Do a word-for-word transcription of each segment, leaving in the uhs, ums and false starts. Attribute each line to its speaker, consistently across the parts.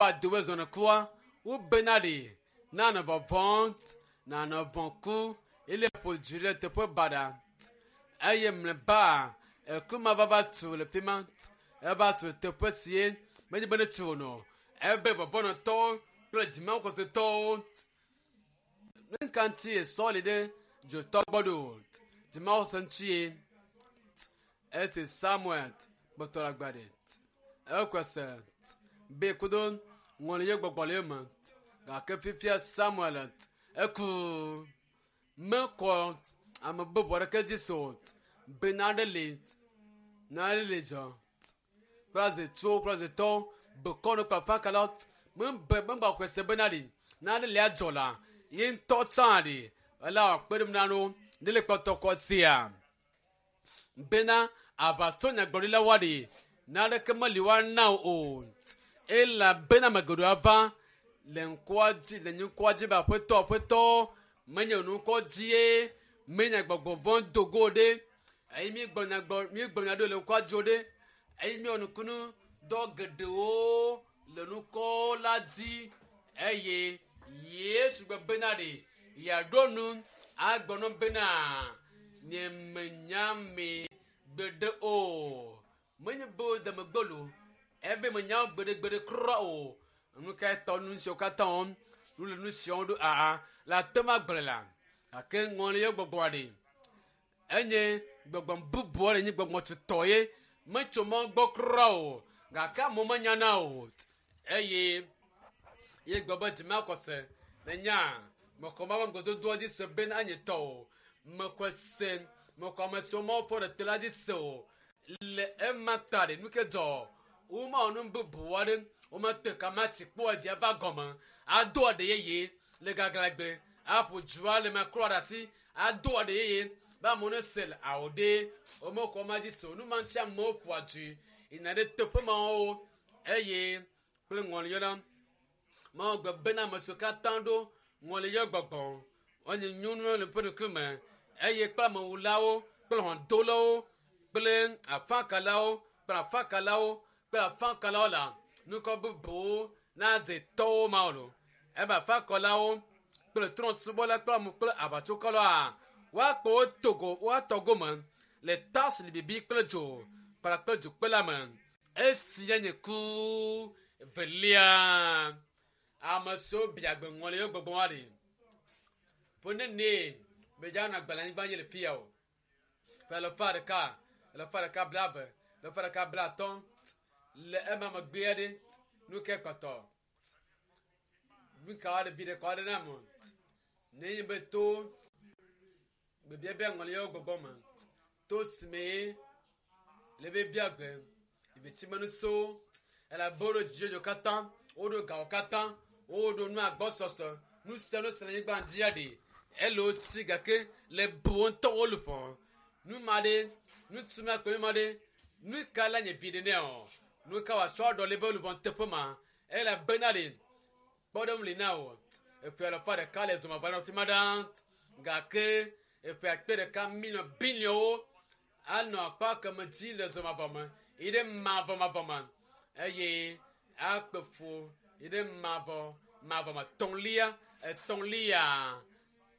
Speaker 1: Adowe zɔnɔ kua wobena ɖi nanɔ vɔvɔm nanɔ vɔ̃ ku ele ƒo dzi ɖe teƒe baɖa eye mlɔeba eku ma va va tu le fi ma eva tu teƒe sie menye be ne tsi o nɔ ebe vɔvɔnɔtɔwo kple dzimakɔsetɔwo nuka ŋuti esɔ li ɖe dzotɔ gbɔ ɖo dzimakɔse ŋutie esi Samuel kpɔtɔ le agbe ɖe ekɔse be kudo ŋɔli ye gbɔgbɔ le eme gake fifia Samuel eku mekɔ ame bubu aɖeke dzi se o be naɖe li naɖe li dzɔ kple azetsuwo kple azetɔwo bekɔnu kple afakalawo mebe megba xɔe se bena ɖi naɖe li adzɔ la ye ŋutɔ tsã ɖi ele wòakpe ɖe na no ne le kpɔtɔ kɔ sia bena aʋatso nyagblɔɖilawoa ɖi naneke meli woana o elabena ame geɖewo ava le ŋkɔa dzi le nye ŋkɔa dzi be aƒetɔ aƒetɔ menye wò ŋkɔ dzie menye gbɔgbɔ vɔ̃ do go ɖe eye míegblɔ nya gbɔ míegblɔ nya ɖo le ŋkɔa dzi o ɖe eye míewɔ nukunu dɔ geɖewo le ŋkɔ la dzi eye Yesu gblɔ bena ɖe yeaɖo nu agblɔ nu bena nye menya mi gbeɖe o menye be wo deme gbolo ebe menya wo gbeɖegbeɖe kura o nu ka tɔ nu siwo katã wɔm nu le nu siwo ɖo aa le ate ma gblẽ la gake ŋɔli ye gbɔgbɔa ɖe enye gbɔgbɔ bubu aɖe nye gbɔgbɔ tutɔ ye metso mɔ gbɔ kura o gake amewo menyana o eye ye gblɔ be dzimakɔse ne nya mekɔ ma be ŋgɔdodoa dzi se bena anye tɔ o mekɔ se mekɔ ame siwo mawo fɔ ɖe te la dzi se o le ema ta ɖe nu ke dzɔ womawɔ nu bubu aɖe womete kamati kpɔ dzi ava gɔme ado aɖe yeye le gaglãgbe aƒo dzua le maklɔ ɖe asi ado aɖe yeye be amewo ne se le awo ɖe womekɔ ma dzi se o nu ma ŋuti amewo ƒoa dui yina ɖe teƒe mawo eye kple ŋɔliyɔla mawo gbe bena ame siwo katã ɖo ŋɔliyɔ gbɔgbɔ wonye nyɔnuwo le ƒe ɖokui me eye kple amewulawo kple hɔ̃dolawo kple afakalawo kple afakalawo kple afakalawo la nukɔ bubuwo nadze tɔwo ma lo ebe afakɔlawo kple trɔ̃subɔla kple amu kple aʋatsokɔlawoa woakpɔ wo togo woatɔ gome le tas libibi kple dzo kpakple dzokpe la me esi nye nye ku velia ame siwo bia gbe ŋɔli yewo gbɔgbɔ wa ɖi ƒe nene bedza nɔ agbalẽ anyigba dzi le fia o ƒe alafa ɖeka alafa ɖeka blaeve alafa ɖeka blatɔ̃ le ema megbea ɖe nu ke kpɔtɔ nu ka ɖe vi ɖe kɔ ɖe na mo ne nye be to gbebiabia ŋɔli yewo gbɔgbɔ me to si me le be bia gbe ibitsimenu so elabe woɖo dzidzɔdzɔ katã woɖo gawo katã woɖo nu agbɔsɔsɔ nu sia nu si le anyigba dzia ɖi ele wo si gake le bu wo ŋutɔ wo luʋɔ nu ma ɖe nu tu ma kpe ma ɖe nu ka la nye vi ɖe nɛ o nu ka wòatsɔ aɖɔ le be luʋɔ teƒe ma elabena ɖe kpɔɖeŋu li na o eƒe alafa ɖeka le zɔmava le fi ma ɖaa gake eƒe akpe ɖeka miliɔn biliɔnwo anɔ akpa keme dzi le zɔmavɔ me yi ɖe mavɔmavɔ me eye akpe fu yi ɖe mavɔ mavɔ me tɔ̃lia etɔ̃lia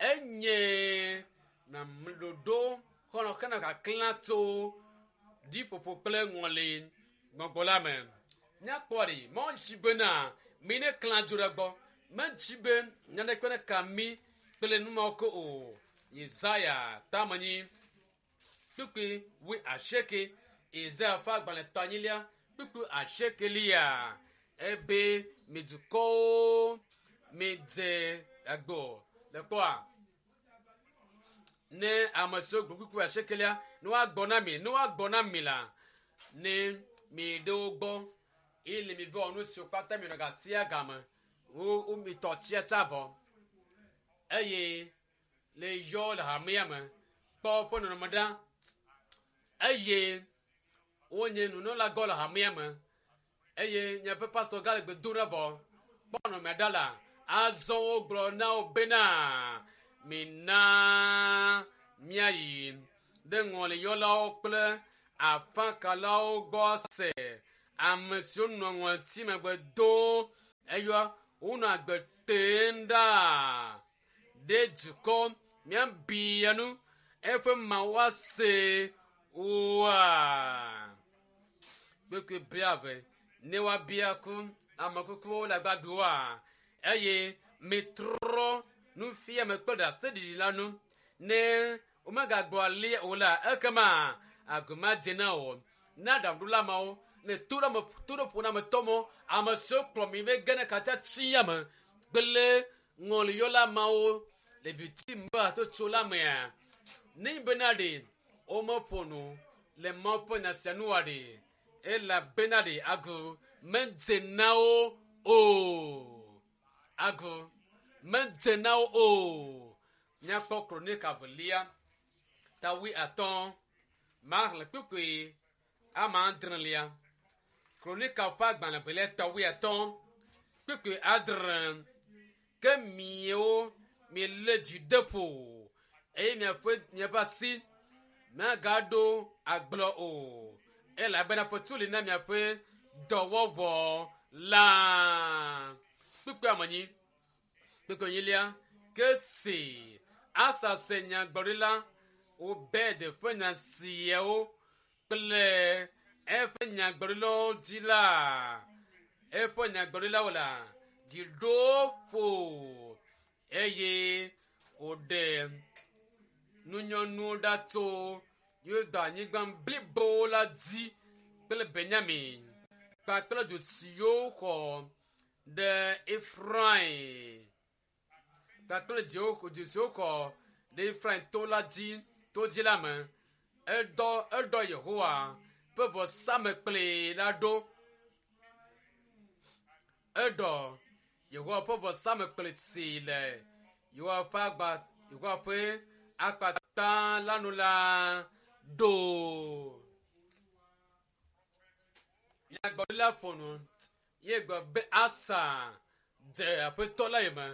Speaker 1: enye namɖoɖo xɔlɔ kena kaklã tso ɖiƒoƒo kple ŋɔli gbɔgbɔ la me míakpɔ ɖi mɔdzi bena mi ne klã dzo ɖe gbɔ medzi be naneke ne ka mi kple numawo ke o Yesaya tamenyi kpukpui wui asieke Yesaya ƒe agbalẽ tɔnyilia kpukpui asiekelia ebe mi dukɔwo midze agbo le kpɔa ne ame siwo gblɔ kpukpui asiekelia ne woagbɔ na mi ne woagbɔ na mi la ne mi ɖe wo gbɔ eye le mi vɔ nu siwo katã mi nɔ gasia game wo wo mi tɔ tsia tsa vɔ eye le yɔ le hamea me kpɔ woƒe nɔnɔme ɖa eye wonye nunɔlagɔ le hamea me eye miaƒe pastor gã le gbe dom ɖa vɔ kpɔ nɔnɔme ɖa la azɔ wogblɔ na wo bena mina míayi ɖe ŋɔliyɔlawo kple afakalawo gbɔ se ame siwo nɔ ŋɔti megbe do Eyɔ wonɔ agbe tem ɖaa ɖe dukɔ míabia nu eƒe mawu ase oa. Kpekpe blaeve ne woabia ku ame kukuwo le agbagbewoa eye mitrɔ nufiame kple ɖaseɖiɖi la nu ne womegagblɔ alia o la ekema aguma dze na o na aɖaŋuɖola mawo ne to ɖe ame to ɖe ƒo na ametɔ mɔ ame siwo kplɔ mi va ge ne katã tsi ame kple ŋɔliyɔla mawo le viti me hatsotso la mea ne bena ɖe womeƒo nu le Mawu ƒe nya sia nu wa ɖe elabena ɖe agu medze na wo o agu medze na wo o míakpɔ kronika velia ta wui atɔ̃ maxlẽ kpukpui ama adrelia kronika ƒe agbalẽ velia ta wui atɔ̃ kpukpui adre ke miawo mielé dzi de ƒo eye miaƒe miaƒe asi miagaɖo agblɔ o elabena fetu li na miaƒe dɔwɔwɔ la kpukpui amenyi kpukpui enyilia ke si asa se nyagblɔɖila Obed ƒe nya siawo kple eƒe nyagblɔɖilawo dzi la eƒe nyagblɔɖilawo la dzi ɖo ƒo eye wòɖe nunyɔnuwo ɖa tso Yuda anyigba blibo la dzi kple Benyamin kpakple du siwo xɔ ɖe Efraim kpakple dziwo du siwo xɔ ɖe Efraim to la dzi to dzi la me eɖɔ eɖɔ Yehowa ƒe vɔsamekpli la ɖo eɖɔ Yehowa ƒe vɔsamekpli si le Yehowa ƒe agba Yehowa ƒe akpata la nu la ɖo. Nyagblɔɖila ƒo nu ye gblɔ be Asa dze aƒetɔ la yome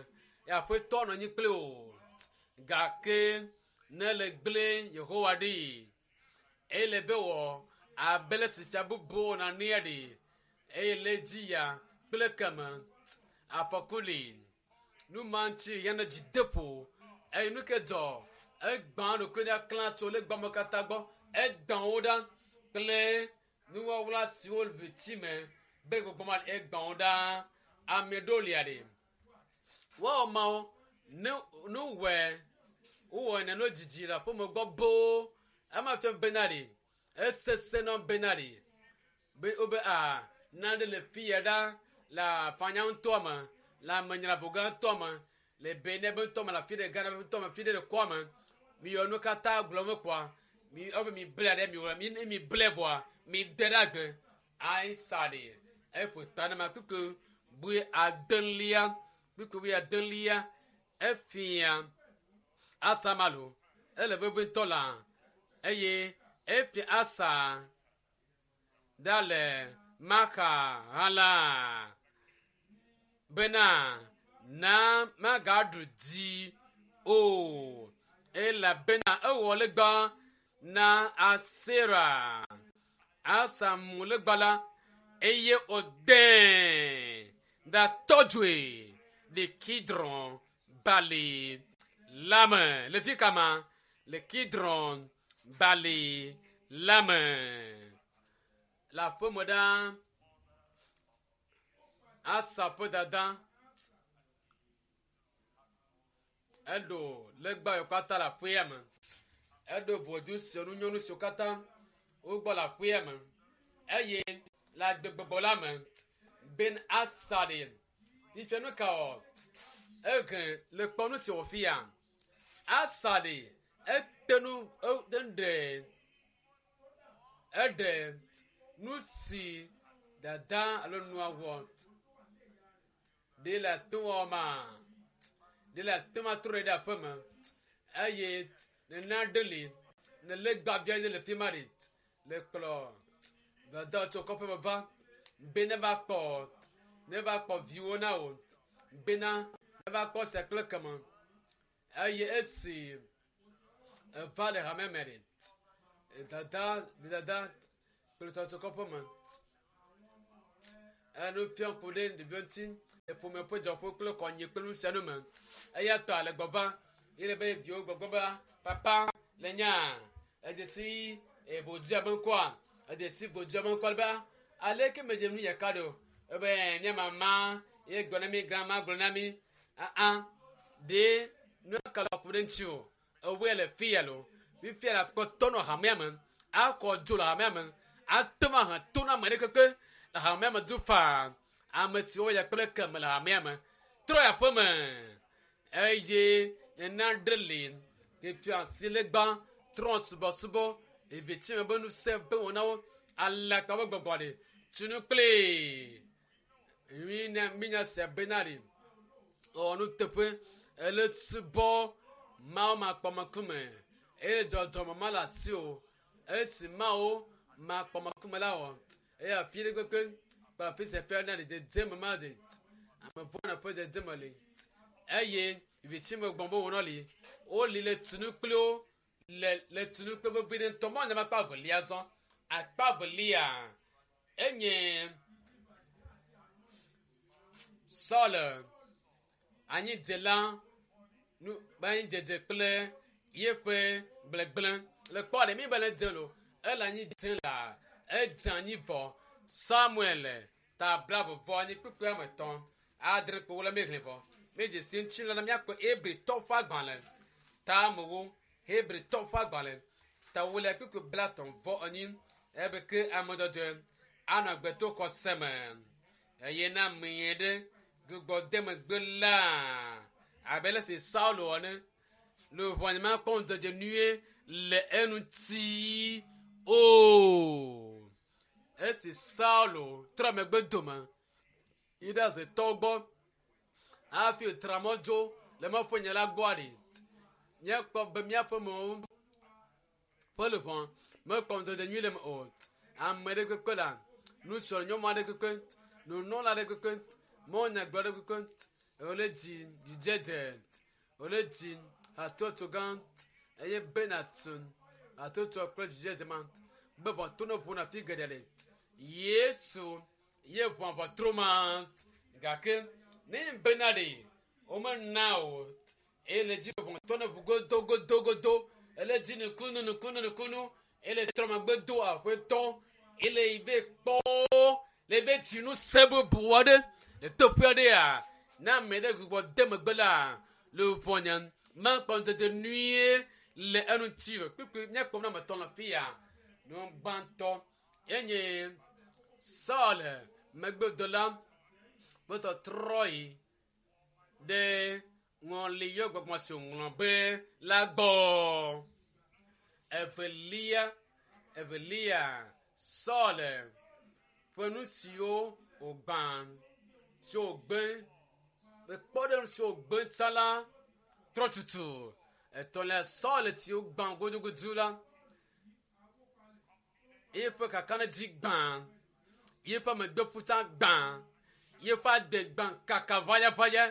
Speaker 1: ye aƒetɔ nɔ anyi kpli wò gake ne le gblẽ Yehowa ɖi eye le be wɔ abe le si fia bubuwo wɔna nea ɖi eye le dzi ya kple keme afɔku li nu ma ŋuti yana dzi de ƒo eye nu ke dzɔ egbã ɖokui ɖa klã tso legba me katã gbɔ egbã wo ɖa kple nuwɔwla siwo le viti me be gbɔgbɔ ma egbã wo ɖa ame ɖewo lia ɖe woawɔ mawo ne nu wɔe wowɔ nene dzidzi le aƒeme gbɔ boo ema fia bena ɖe esese nɔ bena ɖe be wobe a nane le fi ya ɖa le afanya ŋutɔ me le amenyraʋu gã ŋutɔ me le Benin be ŋutɔ me le afi ɖe Ghana be ŋutɔ me fi ɖe le kɔa me miyɔ nu katã gblɔ me kpɔa mi wobe mi ble ɖe mi wɔ mi ne mi ble vɔa mi de ɖe agbe ayisa ɖe eƒo ta ne ma kpukpu bui adelia kpukpu bui adelia efia asamalo ele veve ŋutɔ la eye efia asa ɖa le maka hã la bena na magaɖu dzi o elabena ewɔ legba na Asera asa mu legba la eye wòde da tɔdzoe le Kidron bali la me le fi kama le Kidron bali la me le aƒeme ɖa asa ƒe dada eɖo legba yiwo katã le aƒea me eɖo ʋɔdu siwo nunyɔnu siwo katã wogbɔ le aƒea me eye le agbegbɔgbɔ la me ben asa ɖe fifia nu ka wɔ ehe le kpɔ nu si wòfia asa ɖe ete nu eɖe eɖe nu si dada alo nua wɔ ɖe le to wɔ ma ɖe le to ma trɔ ɖe aƒe me eye nene aɖe li ne legba vi aɖe le fi ma ɖe le kplɔ dada tso kɔƒe me va be ne va kpɔ ne va kpɔ viwo na wò bena ne va kpɔ sia kple keme eye esi eva le hame me ɖe dada dada kple tɔ tso kɔƒe me enu fiam ku ɖe ɖeviwo ŋuti Le ƒome ƒe dzɔƒe kple kɔnyi kple nu sia nu me. Eya tɔ le gbɔva ye le be viwo gbɔgbɔ be papa le nya edesi evodzia be ŋkɔa edesi vodzia be ŋkɔa be aleke medze nu yeka ɖo ebe mía mama ye gblɔ na mi grandma gblɔ na mi aa ɖe nu ka le ku ɖe ŋuti o ewoe le fi ya lo fifia la kpɔtɔ nɔ hamea me akɔ dzo le hamea me ate ŋu ahe to na ame ɖe keke le hamea me du faa ame siwo ya kple keme le hamea me trɔ yi aƒe me eye nena ɖe li fifia si le gbã trɔ subɔsubɔ evitsi me be ŋusẽ be wɔna wo alakpa be gbɔgbɔ ɖe tunu kple mina minya se bena ɖe ewɔ nuteƒe ele subɔ mawo makpɔmekume eye dzɔdzɔme ma le asi o esi mawo makpɔmekume la wɔ eye afi ɖe kpekpe kple afi sia fia na ɖe dzedzeme ma ɖe ame vɔ̃ ƒe dzedzeme li eye vitsime gbɔn be wònɔ li woli le tunu kpli wo le le tunu kple vevi ɖe ŋutɔ mɔ nyama akpa evelia zɔ akpa evelia enye Saul anyidzela nu anyidzedze kple yeƒe gblegblẽ le kpɔ ɖe mi be le dze lo ele anyi dze la edze anyi vɔ Samuel ta blaeve vɔ anyi kpukpui ame etɔ̃ adre kpo le mi hlẽ vɔ mi dze si ŋuti la míakpɔ Hebritɔ ƒe agbalẽ ta amewo Hebritɔ ƒe agbalẽ ta wo le kpukpui blatɔ̃ vɔ enyi ebe ke ame dzɔdzɔe anɔ agbe to xɔse me eye na ame ɖe gbugbɔ de megbe la abe le si Saulo ene le ʋɔ nye makpɔ ŋudzedze nyuie le eŋuti o esi Saulo trɔ megbe dome yi ɖe azetɔwo gbɔ hafi wòtra mɔ dzo le mɔƒe nye la gbɔa ɖi míakpɔ be míaƒe mewo ƒe luʋɔ mekpɔ ŋudzedze nyui le eme o ame ɖe kpekpe la nusrɔ̃ nyɔnu aɖe kpekpe nunɔla aɖe kpekpe mɔnyagblɔ aɖe kpekpe wòle dzi dzidzedze wòle dzi hatsotso gã eye bena tu hatsotso kple dzidzedze ma be ʋɔtru ne ʋuna fi geɖe le Yesu ye ʋua ʋɔtru ma gake ne bena ɖe womena o eye le dzi ʋɔtru ne ʋu godogodogodo ele dzi nukunu nukunu nukunu ele trɔ megbe do aƒetɔ ele yi be kpɔ le be dzinu se bubu aɖe le teƒe aɖea ne ame ɖe gbugbɔ de megbe la le ʋɔ nye makpɔ ŋudzedze nyuie le eŋuti o kpukpui míakpɔ na ame etɔ̃ le fi ya nu gbãtɔ enye Saul megbedola ƒe tɔtrɔ yi ɖe ŋɔli yɔ gbɔgbɔ si wòŋlɔ be la gbɔ evelia evelia Saul ƒe nu siwo wògbã siwo wògbe ekpɔ ɖe nu siwo wògbe tsã la trɔ tutu etɔ̃lia Saul siwo gbã gudugudu la yeƒe kakaɖedzi gbã yeƒe megbeƒuta gbã yeƒe ade gbã kaka ʋayaʋaya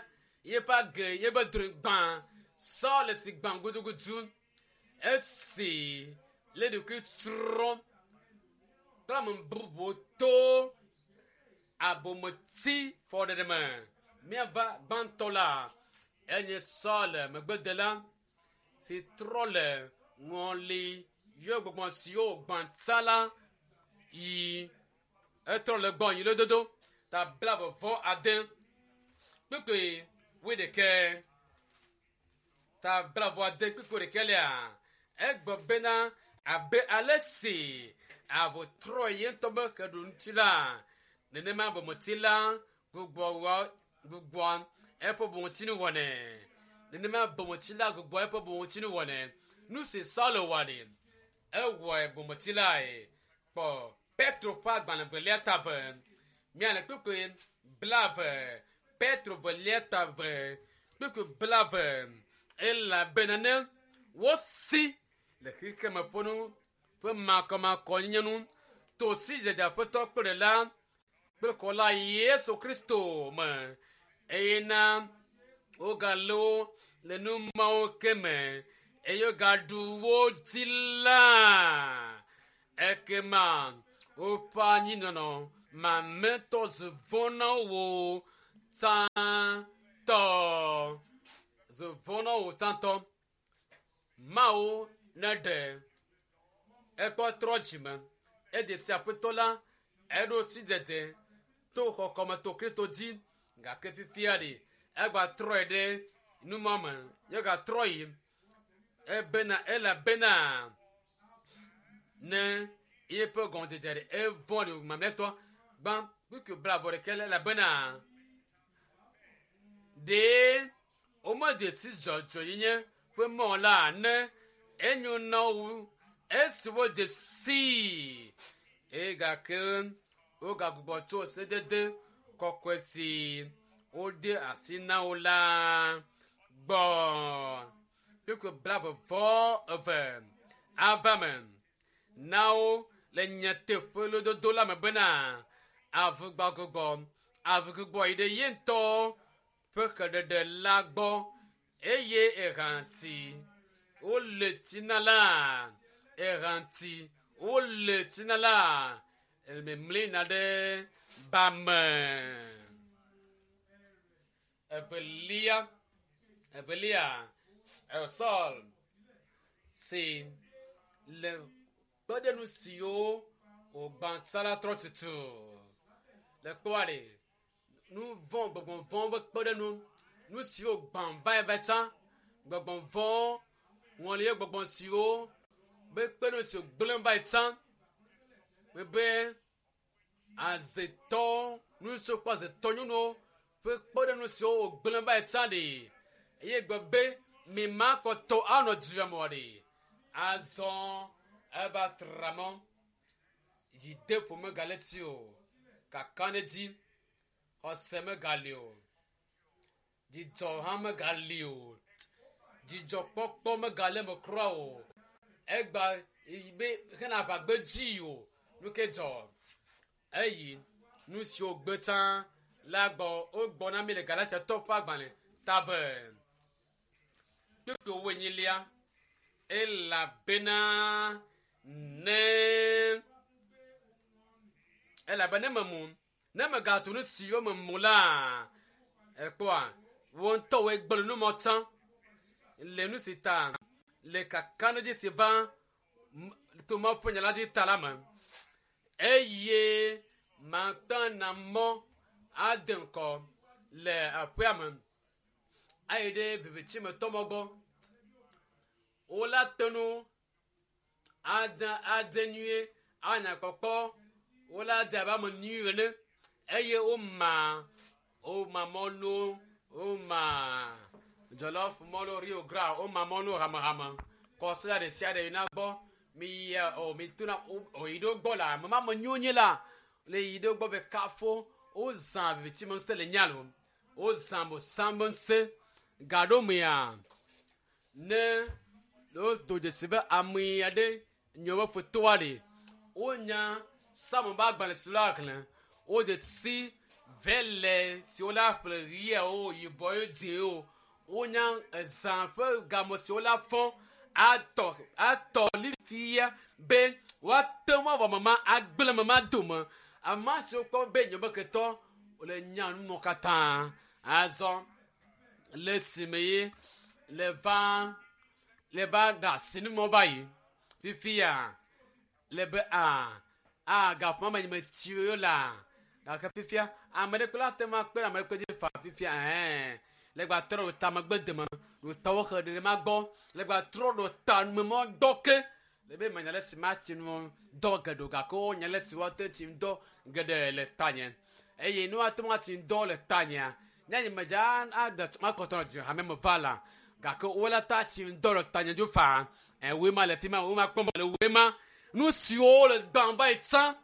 Speaker 1: yeƒe age yeƒe drɔe gbã Saul si gbã gudugudu esi le ɖokui trɔ kple ame bubuwo to abometi fɔɖeɖe me míava gbãtɔ la enye Saul megbedela si trɔ le ŋɔli yɔ gbɔgbɔ siwo gbã tsã la yi etrɔ le gbɔ yi lododo ta blaeve vɔ ade kpukpui wuiɖekɛ ta blaeve ade kpukpui ɖekɛ lia egblɔ bena abe ale si avu trɔ ye ŋutɔ be xeɖu ŋuti la nenema bometi la gbugbɔ wɔ gbugbɔ eƒe bometsinu wɔnɛ nenema bometi la gbugbɔ eƒe bometsinu wɔnɛ nu si Saulo wɔ ɖi ewɔe bometi lae kpɔ Petro ƒe agbalẽ velia ta ve miale kpukpui blaeve Petro velia ta ve kpukpui blaeve elabena ne wosi le xexeme ƒe nu ƒe makɔmakɔnyenye nu to sidzedze aƒetɔ kple ɖela kple kɔla Yesu Kristo me eye na wogalé wo le nu mawo ke me eye wogaɖu wo dzi la ekema woƒe anyinɔnɔ mamlɛtɔ zu vɔ̃ na wo Tsãtɔ zovɔ na wò tsãtɔ. Mawu ne ɖe ekpɔ trɔ dzime ede si aƒetɔ la eɖo si dzedze to xɔxɔme to Kristo dzi gake fifia ɖe egba trɔe ɖe numame ye gatrɔ yi ebena elabena ne yeƒe gɔmedzedze ɖe evɔ ɖe mamlɛtɔ gbã kpukui blavɔ ɖeke le elabena ɖe womede si dzɔdzɔenyenye ƒe mɔ la ne enyo na wo esi wodze sii eye gake wogagbugbɔ tso sedede kɔkɔe si wode asi na wo la gbɔ. Kpukui blave vɔ eve ava me na wo le nyateƒe lododo la me bena avugbagbɔ avugbugbɔ yi ɖe ye ŋutɔ ƒe xeɖeɖe la gbɔ eye ehã si wole tsi na la ehã ti wole tsi na la memlina ɖe ba me. Evelia evelia Saul si le kpeɖenu siwo wògbã sa la trɔ tutu le kpɔa ɖe nu vɔ̃ gbɔgbɔ vɔ̃ ƒe kpeɖenu nu siwo gbã va yi va tsã gbɔgbɔ vɔ̃ ŋɔli gbɔgbɔ siwo be kpeɖenu siwo gblẽ va yi tsã be azetɔ nu siwo kpɔ azetɔ nyɔnuwo ƒe kpeɖenu siwo wògblẽ va yi tsã ɖe eye gbe be mi ma kɔtɔ anɔ dzia me ɖe azɔ eva tra mɔ dzideƒo megale tsi o kakaɖedzi xɔse megali o dzidzɔ hã megali o dzidzɔkpɔkpɔ megale me kura o egba be hena aʋagbe dzi o nu ke dzɔ eyi nu siwo gbe tsã la gbɔ wogbɔ na mi le Galatiatɔ ƒe agbalẽ tave kpukpui wo enyilia elabena ne elabe ne memu ne megatu nu siwo memu la ekpɔa wo ŋutɔ woe gblẽ nu mɔ tsã le nu si ta le kakaɖedzi si va to Mawu ƒe nya la dzi ta la me eye makpena mɔ ade ŋkɔ le aƒea me ayi ɖe vivitimetɔ mɔ gbɔ wola te nu ade ade nyuie anya kpɔkpɔ wola de abe ame nyui ene eye woma woma mɔlu woma jollof mɔlu rio gra woma mɔlu hamehame kɔsila ɖe sia ɖe yina gbɔ mi yi o mi tona o yi ɖo gbɔ la ame ma ame nyuiwo nye la le yi ɖo gbɔ be kafo wozã vivitime ŋusẽ le nya lo wozã bosãme ŋusẽ gaɖo mea ne wodo dzesi be ame aɖe nye woƒe fotoa ɖe wonya Psalm ƒe agbalẽ si la xlẽ wode si vele si wola ƒle ɣiawo yibɔ dzĩwo wonya ezã ƒe game si wola fɔ atɔ atɔ li fia be woate ŋu awɔ mama agblẽ mama dome ame siwo kpɔ be nye be ketɔ le nya numɔ katã azɔ le esime ye le va le va ɖe asi numɔ va yi fifia le be a a gaƒoa me me tsi wo la gake fifia ame ɖe kple ate ŋu akpe ɖe ame ɖe kpe dzi fa fifia ɛɛ le gba trɔ ɖo ta megbe deme ɖo ta wo xe ɖe ma gbɔ le gba trɔ ɖo ta numemɔ dɔ ke le be menya le si ma tsi nu dɔ geɖe o gake wonya le si woate tsi dɔ geɖe le tanye eye ne woate ŋu atsi dɔ le tanyea ne nye medza aɖe makɔtɔ dzi hame me va la gake wola ta tsi dɔ le tanye dzo fa ɛ ma le fi ma woe ma kpɔm le woe ma nu siwo le gbã va yi tsã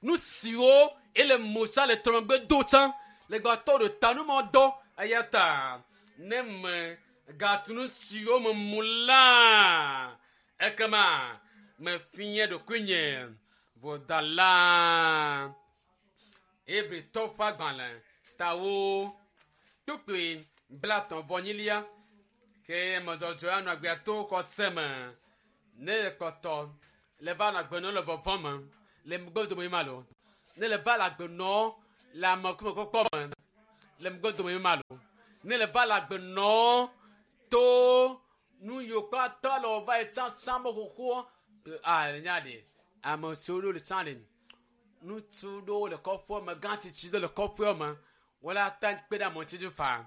Speaker 1: nu siwo ele mo tsã le trɔmegbe do tsã le gbatɔ ɖo ta numɔ dɔ eya ta ne me gatu nu siwo me mu la ekema mefia ɖokuinye vodala Hebritɔ ƒe agbalẽ tawo kpukpui blatɔ̃ vɔ nyilia ke medzɔdzɔ anɔ agbea to xɔse me ne kpɔtɔ le va nɔ agbe nɔ le vɔvɔ me le megbedome ma lo ne le va le agbe nɔ le amekume kpɔkpɔ me Le megbe dome ma lo. Ne le va le agbe nɔ to nu yiwo katã le wɔ va yi tsãtsã me xoxoa a le nya ɖe ame siwo ɖo le tsã ɖe ŋutsu ɖewo le kɔƒea me gã tsitsi ɖewo le kɔƒea me wole ate kpe ɖe amewo ŋuti faa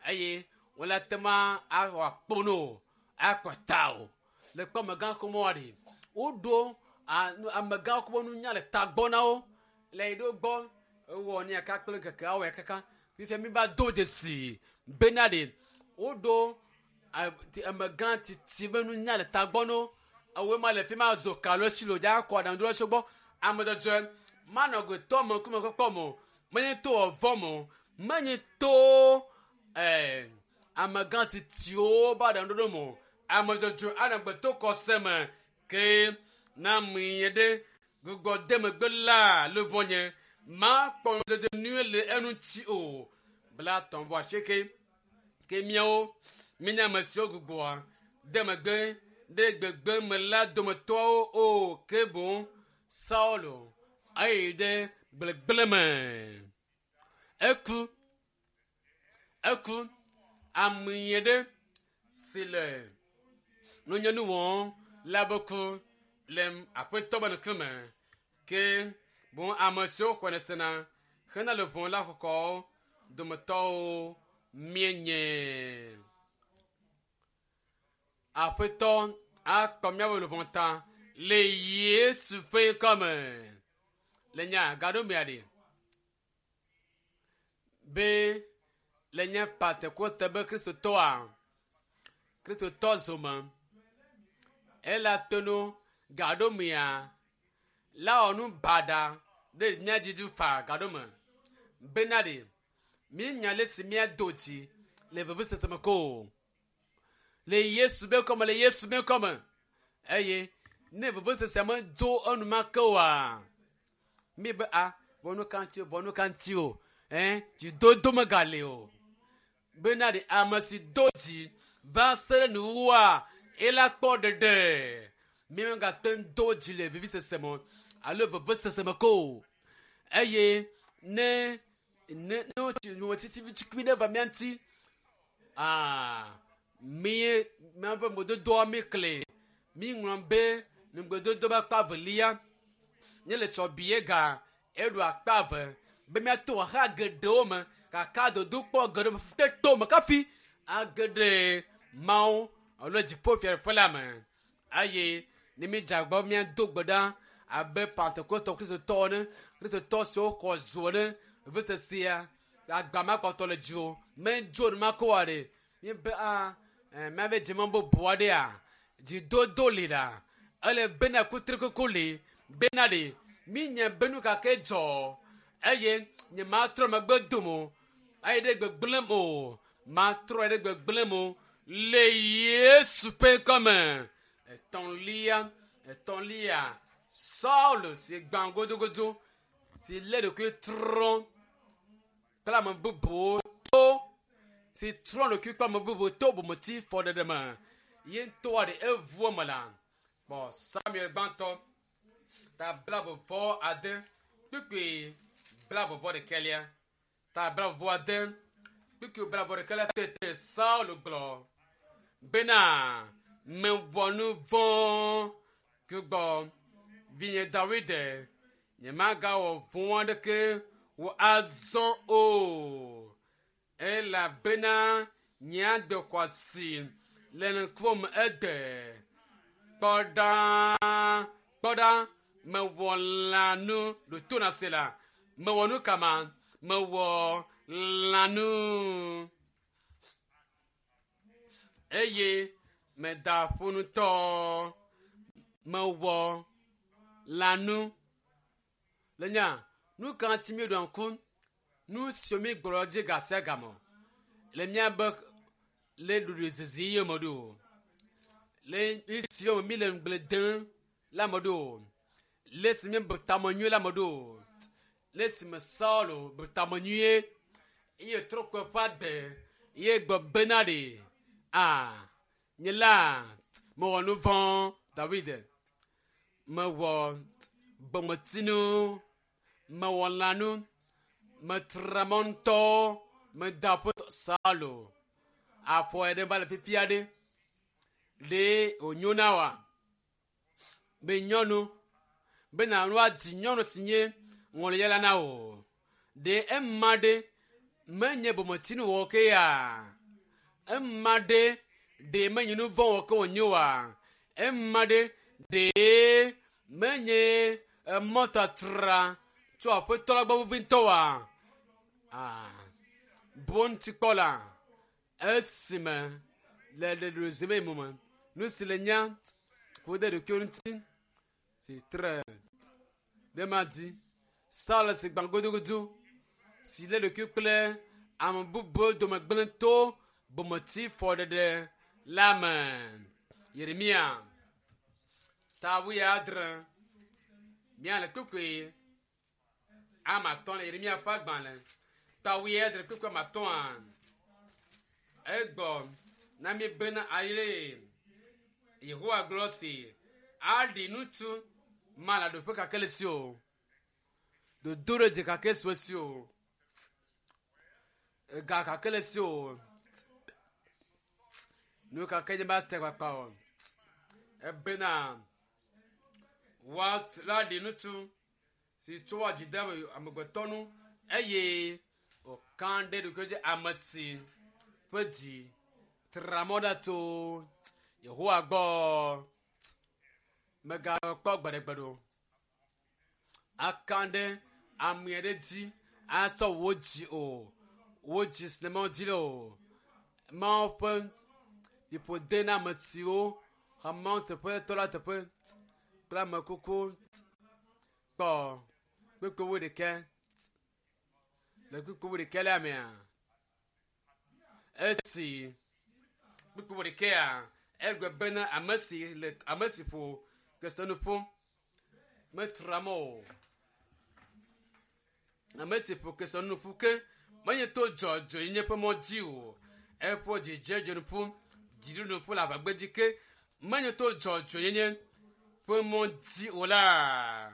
Speaker 1: eye wole ate ma awɔ akpo o akɔ ta o le kpɔ amegã xɔmɔ ɖe woɖo amegã xɔmɔ nunya le tagbɔ na wo le yi ɖo gbɔ ewɔ ne yaka kple keke awɔ kaka fifia mi va do dzesi bena ɖe woɖo amegã tsitsi be nunya le tagbɔ no ewoe ma le fi ma zo kalo si lo dza kɔ aɖaŋu ɖo gbɔ ame dzɔdzɔe manɔ gotɔ me ŋkume kpɔkpɔ me o menye to ɔvɔ me o menye to ɛɛ amegã tsitsiwo ba aɖaŋu ɖoɖo me o ame dzɔdzɔe anɔ gbeto kɔse me ke na mi ɖe gbugbɔ de megbe la luvɔnye ma kpɔ ŋudede nyuie le eŋuti o bla tɔn vɔ asieke ke miawo míenye ame siwo gbugbɔa de megbe ɖe gbegbe me la dometɔwo o ke boŋ Saulo eyi ɖe gblegble me eku eku ame ɖe si le nunyanu wɔm la be ku le aƒetɔ be ŋkume ke boŋ ame siwo xɔnɛ sena hena le ʋɔ la xɔxɔ dometɔwo míenye. Aƒetɔ akpɔ míaƒe luʋɔ ta le Yesu ƒe ŋkɔme. Le nya gaɖo mea ɖe be le nye Pentekoste be Kristotɔa Kristotɔ zome ela tono gaɖo mea la wɔ nu baɖa ɖe mía dzi dzi faa gaɖo me bena ɖe míenya le si míado dzi le vevesese me ko o. Le Yesu be ŋkɔme le Yesu be ŋkɔme eye ne vevesese medzo enumake oa mi be a vɔ nu ka ŋuti o vɔ nu ka ŋuti o ɛn dzidodo megali o bena ɖe ame si do dzi va se ɖe nuwuwua ela kpɔ ɖeɖe mi megate ŋu do dzi le vivisese me alo vevesese me ko o eye ne ne ne wotsi numetiti tukui ɖe va mía ŋuti aa mi míaƒe ŋgbedodoa mi kle mi ŋlɔ be ŋgbedodo be akpa evelia nye le tsɔ bie ga eɖo akpa eve be míato xaxa geɖewo me gake dodokpɔ geɖewo me teto me kafi age ɖe Mawu alo dziƒo fiaɖuƒe la me eye ne mídze agbagba be míado gbe ɖa abe Pentekostɔ Kristotɔwo ene Kristotɔ siwo xɔ zo ene vevesesea agba ma kpɔtɔ le dziwò medzo enumake oa ɖe míebe a míabe dze mɔ bubu aɖea dzidodo li la ele bena kutrikuku li bena ɖe mínya be nu ka ke dzɔ eye nye matrɔ megbe dom o eye ɖe gbegblẽm o matrɔ ɖe gbegblẽm o le Yesu ƒe ŋkɔme. Etɔ̃lia etɔ̃lia Saul si gbã godogodo si lé ɖokui trɔ kple ame bubuwo to si trɔ ɖokui kple ame bubuwo to bometi fɔɖeɖe me ye ŋutɔa ɖe eʋu eme la kpɔ Samuel gbãtɔ ta blaeve vɔ ade kpukpui blaeve vɔ ɖekɛlia ta blaeve vɔ ade kpukpui blaeve vɔ ɖekɛlia tete Saul gblɔ bena mewɔ nu vɔ̃ gbugbɔ vinye Dawid nyemagawɔ vɔ̃ aɖeke wò azɔ o elabena nye agbe xɔ asi le ŋkuwòme egbe kpɔ ɖa kpɔ ɖa mewɔ lãnu ɖo to na se la mewɔ nu kama mewɔ lãnu eye meda ƒu ŋutɔ mewɔ lãnu le nya nu ka ŋuti míeɖoa ŋku nu siwo mígblɔ dzi ga sia game le míabe le ɖoɖoezizi yome ɖo le esiwo me míle ŋugble dem la me ɖo le esi míebu tame nyuie la me ɖo le esime Saul bu tame nyuie eye trɔ kpe ƒe agbe ye gbe bena ɖe a nye la mewɔ nu vɔ̃ David mewɔ bometinu mewɔ lãnu metra mɔ ŋutɔ Meda ƒe Saulo. Afɔ ɖe va le fifia ɖe. Ɖe wònyo na wa be nyɔnu bena woadi nyɔnu si nye ŋɔliyala na wò. Ɖe ema ɖe menye bometsinu ke ya? Ema ɖe ɖe menye nu vɔ̃ wɔ ke wònye oa? Ema ɖe ɖe menye emɔtatra tso aƒetɔ la gbɔ vevi ŋutɔ oa? Ah, bu ŋuti kpɔ la esime le ɖeɖozime me me nu si le nya ku ɖe ɖokuiwo ŋuti si tre ɖe ma di Saul si gbã gudugudu si lé ɖokui kple ame bubuwo dome gblẽ to bometi fɔɖeɖe la me. Yeremia ta wuiadre míale kpukpui ame atɔ̃ le Yeremia ƒe agbalẽ ta wuiadre kpukpui ame atɔ̃a egbɔ na mi bena ale Yehowa gblɔ si aɖi ŋutsu ma le ɖoƒe kake le si o dodo ɖe dzi kake sue si o ega kake le si o nu kake nye ba te kpakpa o ebena woaɖi ŋutsu si tsoa dzi de amegbetɔ nu eye wòka ɖe ɖokui dzi ame si ƒe dzi tra mɔ ɖa tso Yehowa gbɔ megakpɔ gbeɖegbeɖe o. Aka ɖe ame aɖe dzi asɔ wò dzi o. Wò dzi si ne Mawu dzi le o. Mawu ƒe ƒoƒode na ame siwo xɔ Mawu teƒe tɔ la teƒe kple ame kuku kpɔ kpukpui wuiɖekɛ le kpukpui wuiɖekɛ la mea esi kpukpui wuiɖekɛa egblɔ bena ame si le ame si ƒo kesinɔnu ƒu metra mɔ o. Ame si ƒo kesinɔnu ƒu ke menye to dzɔdzɔenyenye ƒe mɔ dzi o. Eƒo dzidzedze ƒu dziɖuɖu ƒu le aʋagbedzi ke menye to dzɔdzɔenyenye ƒe mɔ dzi o la.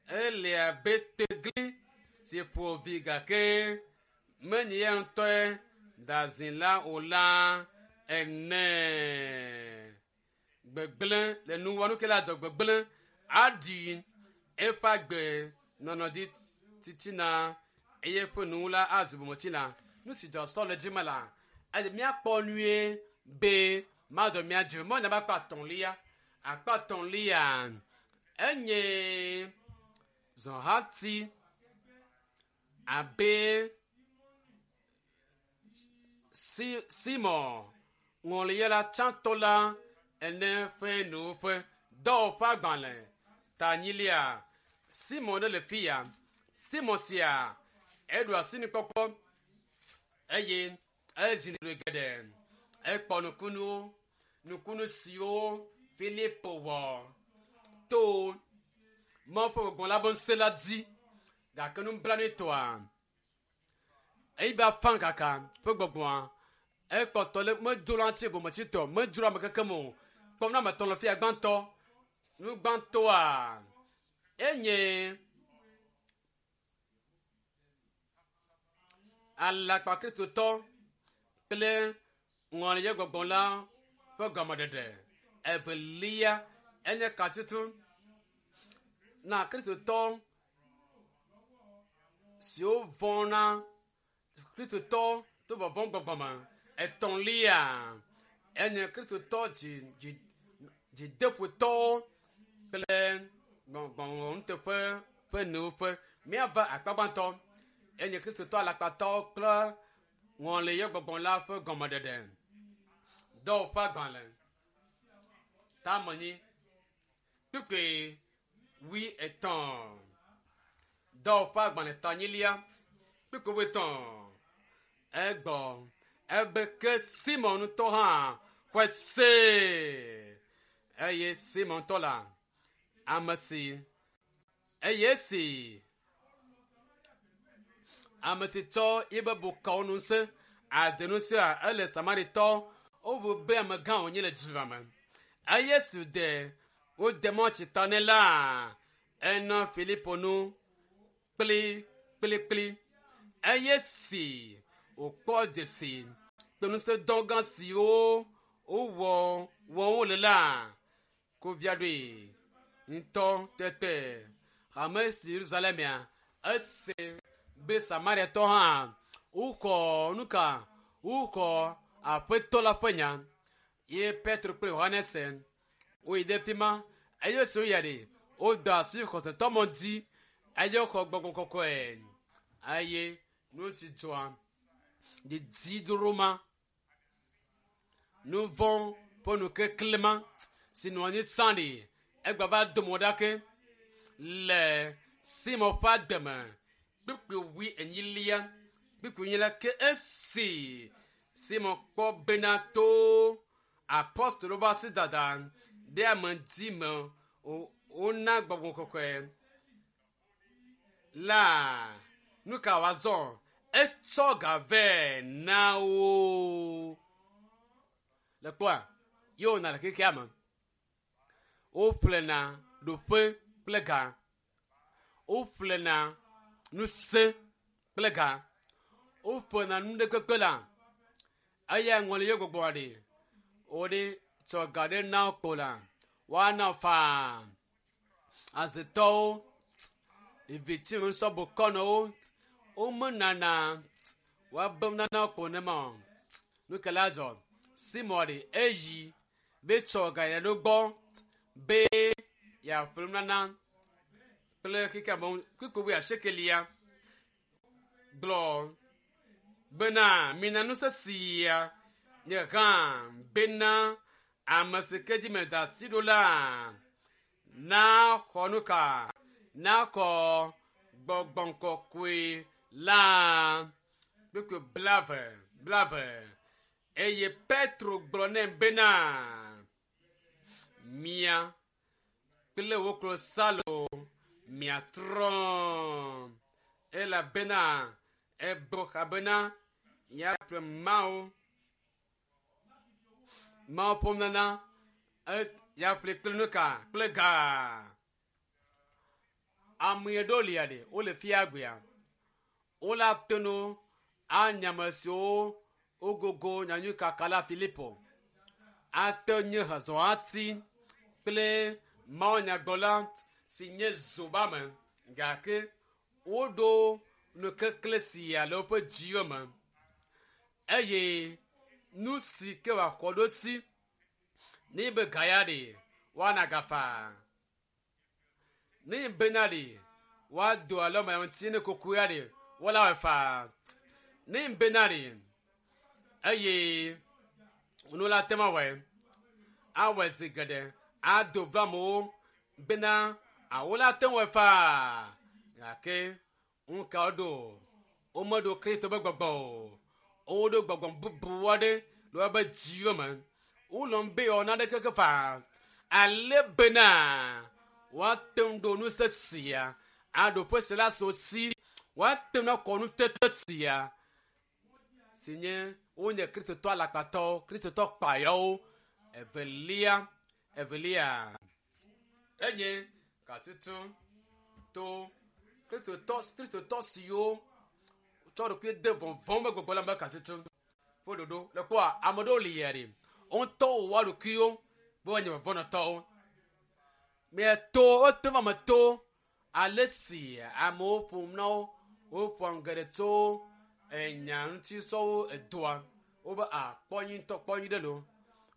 Speaker 1: Ele abe tegli si ƒo vi gake menye ya ŋutɔe da zi la o la ene. Gbegblẽ le nuwɔnu ke la dzɔ gbegblẽ aɖi eƒe agbe nɔnɔ dzi titina eye eƒe nuwu la azu bometsina. Nu si dzɔ sɔ le dzi me la, eye míakpɔ nyuie be madɔ mía dzi. Mɔ nyaba akpa atɔ̃lia. Akpa atɔ̃lia enye zɔhati abe si Simon ŋɔliyala tsãtɔ la ene ƒe nuwuƒe dɔwɔƒe agbalẽ tanyilia. Simon ɖe le fi ya. Simon sia eɖu asinukpɔkpɔ eye ezi ɖoɖoe geɖe. Ekpɔ nukunuwo, nukunu siwo Filipo wɔ to Mawu ƒe gbɔgbɔ la be ŋusẽ la dzi gake nublanuitɔa eyi be afã kaka ƒe gbɔgbɔa ekpɔtɔ le medzo la ŋuti bometsitɔ medzro ame keke me o. Kpɔm na ame etɔ̃ le fia gbãtɔ. Nu gbãtɔa enye alakpa kristotɔ kple ŋɔliyɔ gbɔgbɔ la ƒe gɔmeɖeɖe. Evelia enye katutu na kristotɔ siwo vɔ̃na kristotɔ to vɔvɔ̃ gbɔgbɔ me. Etɔ̃lia enye kristotɔ dzi dzi dzideƒotɔwo kple gbɔgbɔnuteƒe ƒe nuwuƒe. Míava akpa gbãtɔ enye kristotɔ alakpatɔwo kple ŋɔliyɔ gbɔgbɔ la ƒe gɔmeɖeɖe. Dɔwɔƒe agbalẽ tamenyi kpukpui wui etɔ̃. Dɔwɔƒe agbalẽ tanyilia kpukpui wui etɔ̃. Egbɔ ebe ke Simon ŋutɔ hã xɔe se eye Simon ŋutɔ la ame si eye esi ame si tsɔ yibe bokɔwo ŋusẽ ade ŋusẽa ele Samaritɔ wobu be amegã wònye le dua me. Eye esi de wode mɔ tsi ta nɛ la enɔ Filipo nu kplikplikpli. Eye si Wòkpɔ dzesi kple ŋusẽdɔ gã siwo wowɔ wɔm wole la kovia ɖoe ŋutɔ tete hame si Yerusalemea ese be Samariatɔ hã wokɔ nuka wokɔ aƒetɔ la ƒe nya ye Petro kple Yohanes woyi ɖe fi ma eye esi woyia ɖe woda asi xɔsetɔ mɔ dzi eye woxɔ gbɔgbɔ kɔkɔe eye nu si dzɔa didi doro ma nu vɔ̃ ƒe nukekle ma si nɔ anyi tsã ɖi egba va do mo ɖa ke le Simon ƒe ademe kpukpui wui enyilia kpukpui enyilia ke esi Simon kpɔ bena to apostolo ƒe asi dada ɖe ame dzi me wona gbɔgbɔ kɔkɔe la nu ka wòazɔ etsɔ ga vɛ na wo le kpɔa ye wòna le xexea me woƒlena ɖoƒe kple ga woƒlena ŋusẽ kple ga woƒlena nu ɖe kpekpe la eya ŋɔli ye gbɔgbɔ ɖe woɖe tsɔ ga ɖe na wo kpo la woana faa azetɔwo eviti ŋusɔbokɔnɔwo womenana woabe nana kpo ne ma o nu ke la dzɔ Simon ɖe eyi be tsɔ ga ya ɖo gbɔ be yeaƒle nunana kple xexea me kpukpui wui asiekelia gblɔ bena mina ŋusẽ sia nye hã bena ame si ke dzi meda asi ɖo la naxɔ nu ka naxɔ gbɔgbɔ kɔkɔe la kpukpui blave blave eye Petro gblɔ nɛ bena mia kple wò klosalo miatrɔ elabena ebɔ xa bena yeaƒle Mawu Mawu ƒe nunana yeaƒle kple nu ka kple ga. Ame ɖewo lia ɖe wole fia gbea wole ate ŋu anya ame siwo wogogo nyanyui kaka la Filipo ate nye hezɔhati kple mawunyagblɔla si nye zobame gake woɖo nukekle sia le woƒe dziwo me eye nu si ke wòaxɔ ɖo si ne be ga ya ɖe woana ga faa ne bena ɖe woado alɔ me ŋuti ne koko ya ɖe wola wɔe faa ne bena ɖe eye nu la te ma wɔe awɔe zi geɖe ado va amewo bena awo la te wɔe faa gake ŋu ka woɖo womeɖo Kristo ƒe gbɔgbɔ o woɖo gbɔgbɔ bubu aɖe le woƒe dziwo me wolɔm be yewoawɔ nane keke faa ale bena woate ŋu ɖo ŋusẽ sia aɖo ƒe si la so si woate ŋu akɔ nutete sia si nye wonye kristotɔ alakpatɔwo kristotɔ kpayawo evelia evelia enye gatutu to kristotɔ kristotɔ siwo tsɔ ɖokui de vɔvɔ̃ be gbɔgbɔ la me gatutu ƒe ɖoɖo le kpɔa ame ɖewo li ya ɖe woŋutɔ wowɔ ɖokuiwo be woanye vɔvɔ̃nɔtɔwo mieto wote va me to ale si amewo ƒom na wo woƒoa nu geɖe tso enya ŋuti sɔwo edoa wobe a kpɔ nyi ŋutɔ kpɔ nyi ɖe lo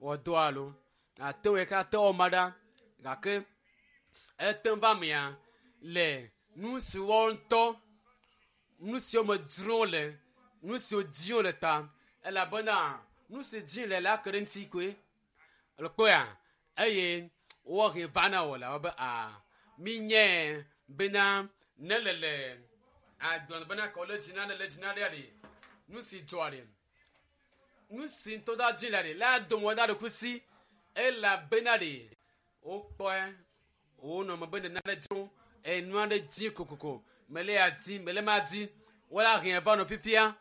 Speaker 1: wɔ doa lo ate ŋu yi ke ate wɔ ma ɖa gake ete ŋu va mea le nu si wɔm ŋutɔ nu siwo me dzrom wole nu siwo dim wole ta elabena nu si dim le la ke ɖe ŋuti koe le kpɔea eye wohe va na wò la wobe a minye bena ne le le agblɔ bena kɔ le dzi na ne le dzi na ɖe ɖe nu si dzɔa ɖe nu si ŋutɔ da dzi le ɖe la dome da ɖokui si elabena ɖe wokpɔe wonɔ me be nene aɖe dzro enu aɖe dzi kokoko mele ya dzi mele ma dzi wola hɛn va nɔ fifia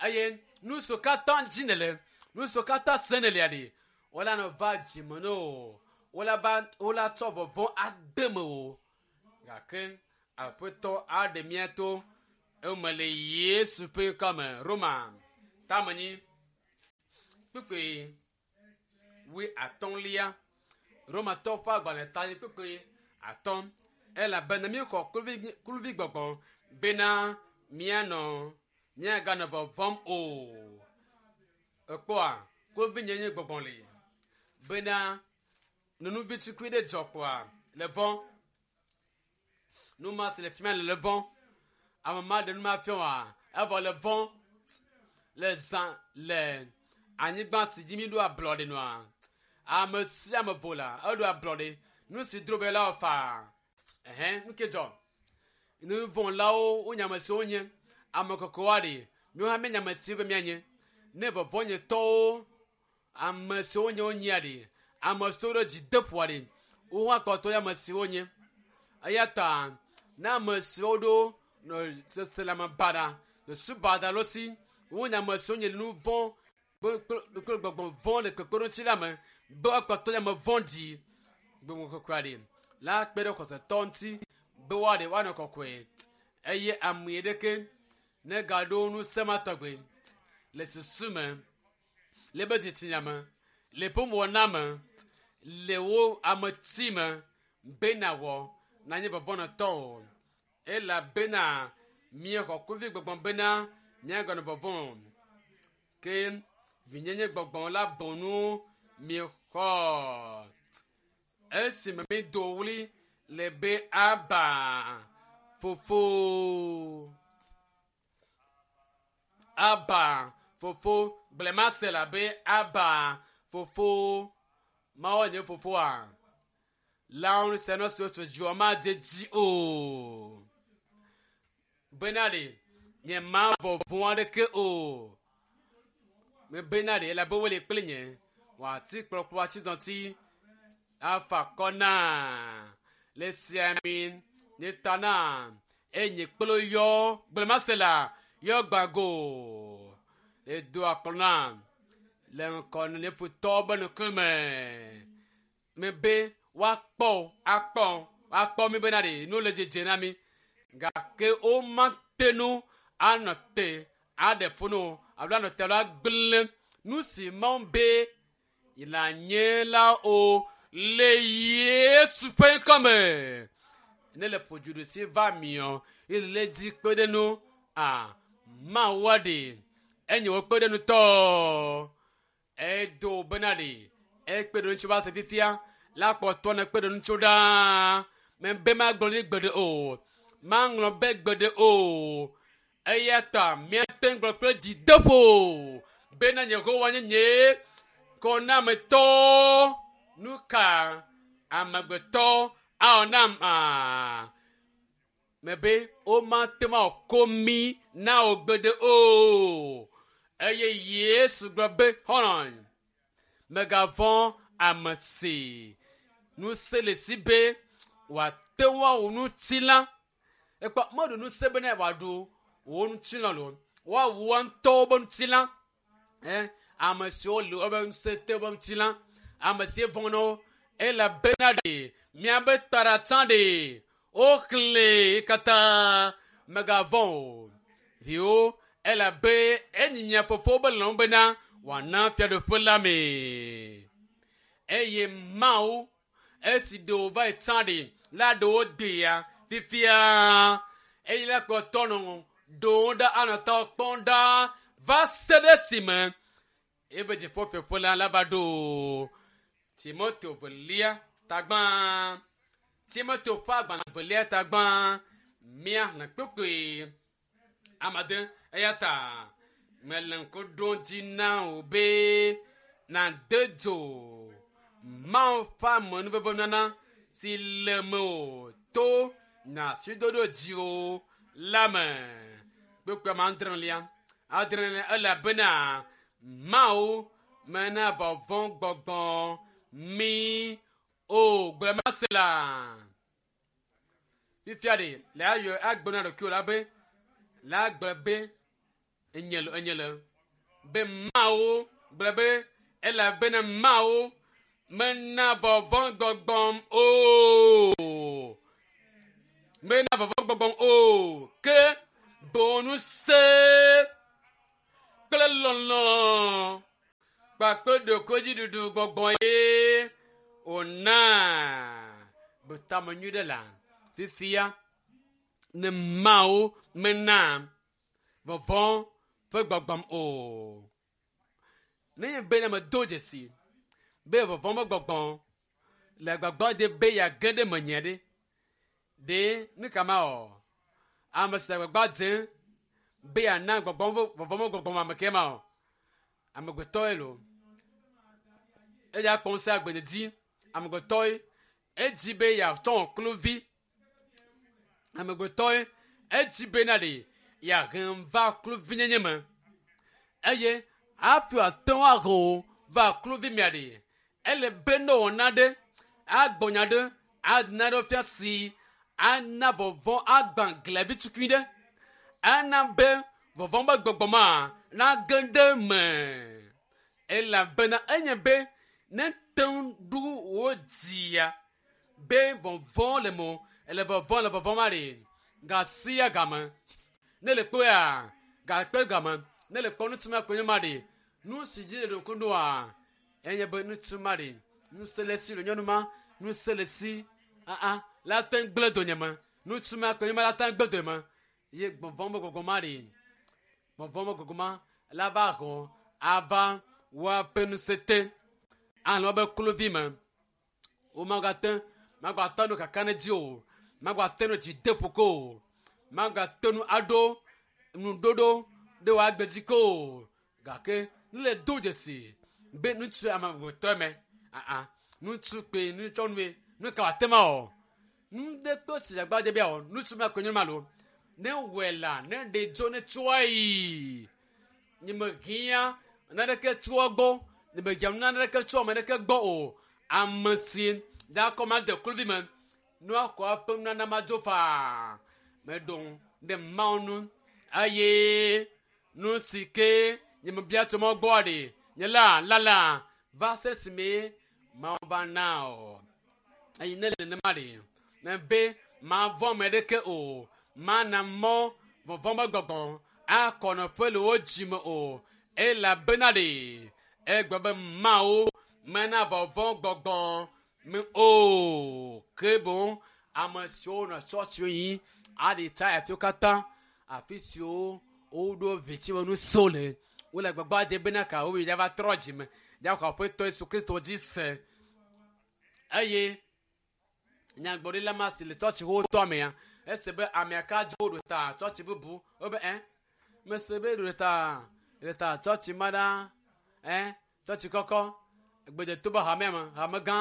Speaker 1: eye nu siwo katã dzi nele nu siwo katã se nele ɖe wola nɔ va dzime ne o wola va wola tsɔ vɔvɔ̃ ade me o gake aƒetɔ aɖe mía to eme le Yesu ƒe ŋkɔme Roma Tamenyi kpukpui wui atɔ̃lia. Romatɔwo ƒe agbalẽ ta nyi kpukpui atɔ̃. Elabena míexɔ kluvi kluvi gbɔgbɔ bena míanɔ míaganɔ vɔvɔm o. Ekpɔa kluvinyenye gbɔgbɔ li bena nunuvi tukui ɖe dzɔ kpoa le vɔ. Nu ma si le fi ma le le vɔ. Ame ma ɖe nu ma fia oa evɔ le vɔ le zã le anyigba si dzi mi ɖo ablɔɖe nua. Ame sia ame vo la eɖo ablɔɖe. Nu si dro be la wɔ faa. Ɛhɛn nu ke dzɔ. Nuvɔ̃lawo wonye ame siwo nye ame kɔkɔewoa ɖe míawo hã míenye ame siwo be míanye. Ne vɔvɔ̃nyetɔwo ame siwo nye wonyia ɖe ame siwo ɖo dzideƒoa ɖe wo hã kpɔtɔ nye ame siwo nye. Eya ta ne ame siwo ɖo nɔ seselãme baɖa susu baɖa ɖo si wonye ame siwo nye nu vɔ̃ kple kple gbɔgbɔ vɔ̃ le kpekpeɖeŋuti la me be woakpɔtɔ nye ame vɔ̃ɖi gbɔgbɔ kɔkɔea ɖe la kpe ɖe xɔsetɔ ŋuti be woaɖe woanɔ kɔkɔe eye ame ɖeke negaɖo ŋusẽ ma tɔgbe le susu me le be dzitsinya me le ƒe wɔna me le wo ameti me be nawɔ nanye vɔvɔ̃nɔtɔ o elabena míexɔ kluvi gbɔgbɔ bena míaganɔ vɔvɔ̃ o ke vinyenye gbɔgbɔ la bɔnu míexɔ esime mído ɣli le be aba fofo aba fofo gblẽmase la be aba fofo mawo nye fofoa lãwo sena siwo tso dziwɔ madze dzi o bena ɖe nye ma vɔvɔ̃ aɖeke o mebena ɖe elabe wole kple nye wòati kplɔkplɔ atizɔti afa akɔ na le sia mi nye ta na eye nye kplo yɔ gblẽmase la yɔ gbago le do akplɔ na le ŋkɔ ne futɔwo be ŋkume mebe woakpɔ akpɔ akpɔ mi bena ɖe nu le dzedze na mi gake womate nu anɔ te aɖe funu alo anɔ te alo agblẽ nu si Mawu be la nye la o le Yesu ƒe ŋkɔme. Ne le ƒo si va miɔ ye le dzi kpe ɖe nu a Mawua ɖe enye wo kpe ɖe nutɔ edo bena ɖe ekpe ɖe ŋutsu va se fifia la kpɔtɔ ne kpe ɖe ŋutsu ɖaa mebe magblɔ ɖi gbeɖe o maŋlɔ be gbeɖe o eya ta míate ŋu gblɔ kple dzideƒo bena Yehowa nye nye kɔnametɔ nu ka amegbetɔ awɔ nam aa mebe womate ŋu awɔ mi na wò gbeɖe o eye Yesu gblɔ be xɔlɔ̃ megavɔ̃ ame si ŋusẽ le si be wòate ŋu awɔ ŋutilã ekpɔ meɖu ŋusẽ bena wòaɖu wò ŋutilã lo woawu woa ŋutɔwo be ŋutilã ɛ ame siwo le woƒe ŋusẽ te woƒe ŋutilã ame si vɔ̃ na wo elabena ɖe miabe taɖatsã ɖe woxlẽ katã megavɔ̃ o viwo elabe enyi mia fofowo be lɔlɔ̃nu bena wòana fiaɖuƒe la me eye Mawu esi ɖewo va yi tsã ɖe la ɖewo dea fifia eye la kpɔtɔ nɔ ɖewo ɖa anɔ tɔ kpɔm ɖaa va se ɖe esime ebe dziƒofiaƒe la la va ɖo. Timoteo velia tagbã Timoteo ƒe agbalẽ velia tagbã míaxlẽ kpukpui amade eya ta mele ŋku ɖom dzi na wò be nàde dzo Mawu ƒe amenuveve nana si le mewò to nyasidodo dziwò la me. Kpukpui ame adrelia adrelia elabena Mawu mena vɔvɔ̃ gbɔgbɔ mi o gblẽmase la. Fifia ɖe le ayɔ agblɔ na ɖokuiwò la be la gblɔ be enye le enye le be Mawu gblɔ be elabena Mawu mena vɔvɔ̃ gbɔgbɔm o mena vɔvɔ̃ gbɔgbɔm o ke boŋ ŋusẽ Kpakple lɔlɔ kpakple ɖokuidziɖuɖu gbɔgbɔ ye wòna betame nyui ɖe la fifia ne Mawu mena vɔvɔ̃ ƒe gbɔgbɔm o. Ne nye be ne medo dzesi be vɔvɔ̃ ƒe gbɔgbɔ le agbagba de be yeage ɖe menye ɖe ɖe nu ka ma wɔ ame si le agbagba dzem be yeana gbɔgbɔ vɔvɔ̃ ƒe gbɔgbɔ ame ke ma o amegbetɔe lo eya kpɔ ŋusẽ agbe dzi amegbetɔe edzi be yeatɔ kluvi amegbetɔe edzi be na ɖe yeahem va kluvinyenye me eye hafi wòate ŋu ahe va kluvi mea ɖe ele be ne wɔna ɖe agbɔnya ɖe ana ɖe fia si ana vɔvɔ̃ agbã glevi tukui ɖe ana be vɔvɔ̃ be gbɔgbɔ ma nage ɖe me elabena enye be ne te ŋu ɖu wò dzia be vɔvɔ̃ le mo ele vɔvɔ̃ le vɔvɔ̃ ma ɖe gasia game ne le kpɔea gakpe game ne le kpɔ ŋutsu ma kpe nye ma ɖe nu si dzi le ɖoku ɖoa enye be ŋutsu ma ɖe ŋusẽ le si le nyɔnu ma ŋusẽ le si aa la te ŋu gblẽ donyeme ŋutsu ma kpe nye ma la te ŋu gblẽ donyeme ye gbɔvɔ̃ be gbɔgbɔ ma ɖe gbɔvɔ̃ be gbɔgbɔ ma la va xɔ ava woaƒe ŋusẽ te anɔ woƒe kluvi me womagate magbate nu kaka ɖe dzi o magbate nu dzi de ƒo ko o magate nu aɖo nuɖoɖo ɖe wòagbe dzi ko o gake ne le do dzesi be ŋutsu amegbetɔ me aa ŋutsu kpe nutsɔnue nu ka wòate ma wɔ nu ɖe kpe si agba de bia wɔ ŋutsu ma kpe nye ma lo ne wɔe la ne ɖe dzo ne tsɔa yi nye me hiã naneke tsoa gbɔ nye me hiã naneke tso ame ɖeke gbɔ o ame si da kɔ ma de kluvi me nua kɔ eƒe nunana ma dzo faa meɖo ɖe Mawu nu eye nu si ke nye me bia tso mɔ gbɔ ɖe nye la lala va se esime Mawu va na o eye ne le nenema ɖe me be mavɔ̃ ame ɖeke o mana mɔ vɔvɔ̃ be gbɔgbɔ akɔ nɔƒe le wo dzime o elabena ɖe egblɔ be Mawu mena vɔvɔ̃ gbɔgbɔ me o ke boŋ ame siwo nɔ tsɔtsiwo yi aɖi tsa afiwo katã afi siwo woɖo vitsime nusewo le wole agbagba dze bena ka woyi va trɔ dzime ya xɔ aƒetɔ Yesu Kristo dzi se eye nyagblɔɖila ma si le tsɔtsi wotɔ amea ese be amea ka dzo ɖo ta tsɔtsi bubu wobe ɛ mese be ɖo ta ɖo ta tsɔtsi ma ɖa ɛ tsɔtsi kɔkɔ gbedeto be hamea me hame gã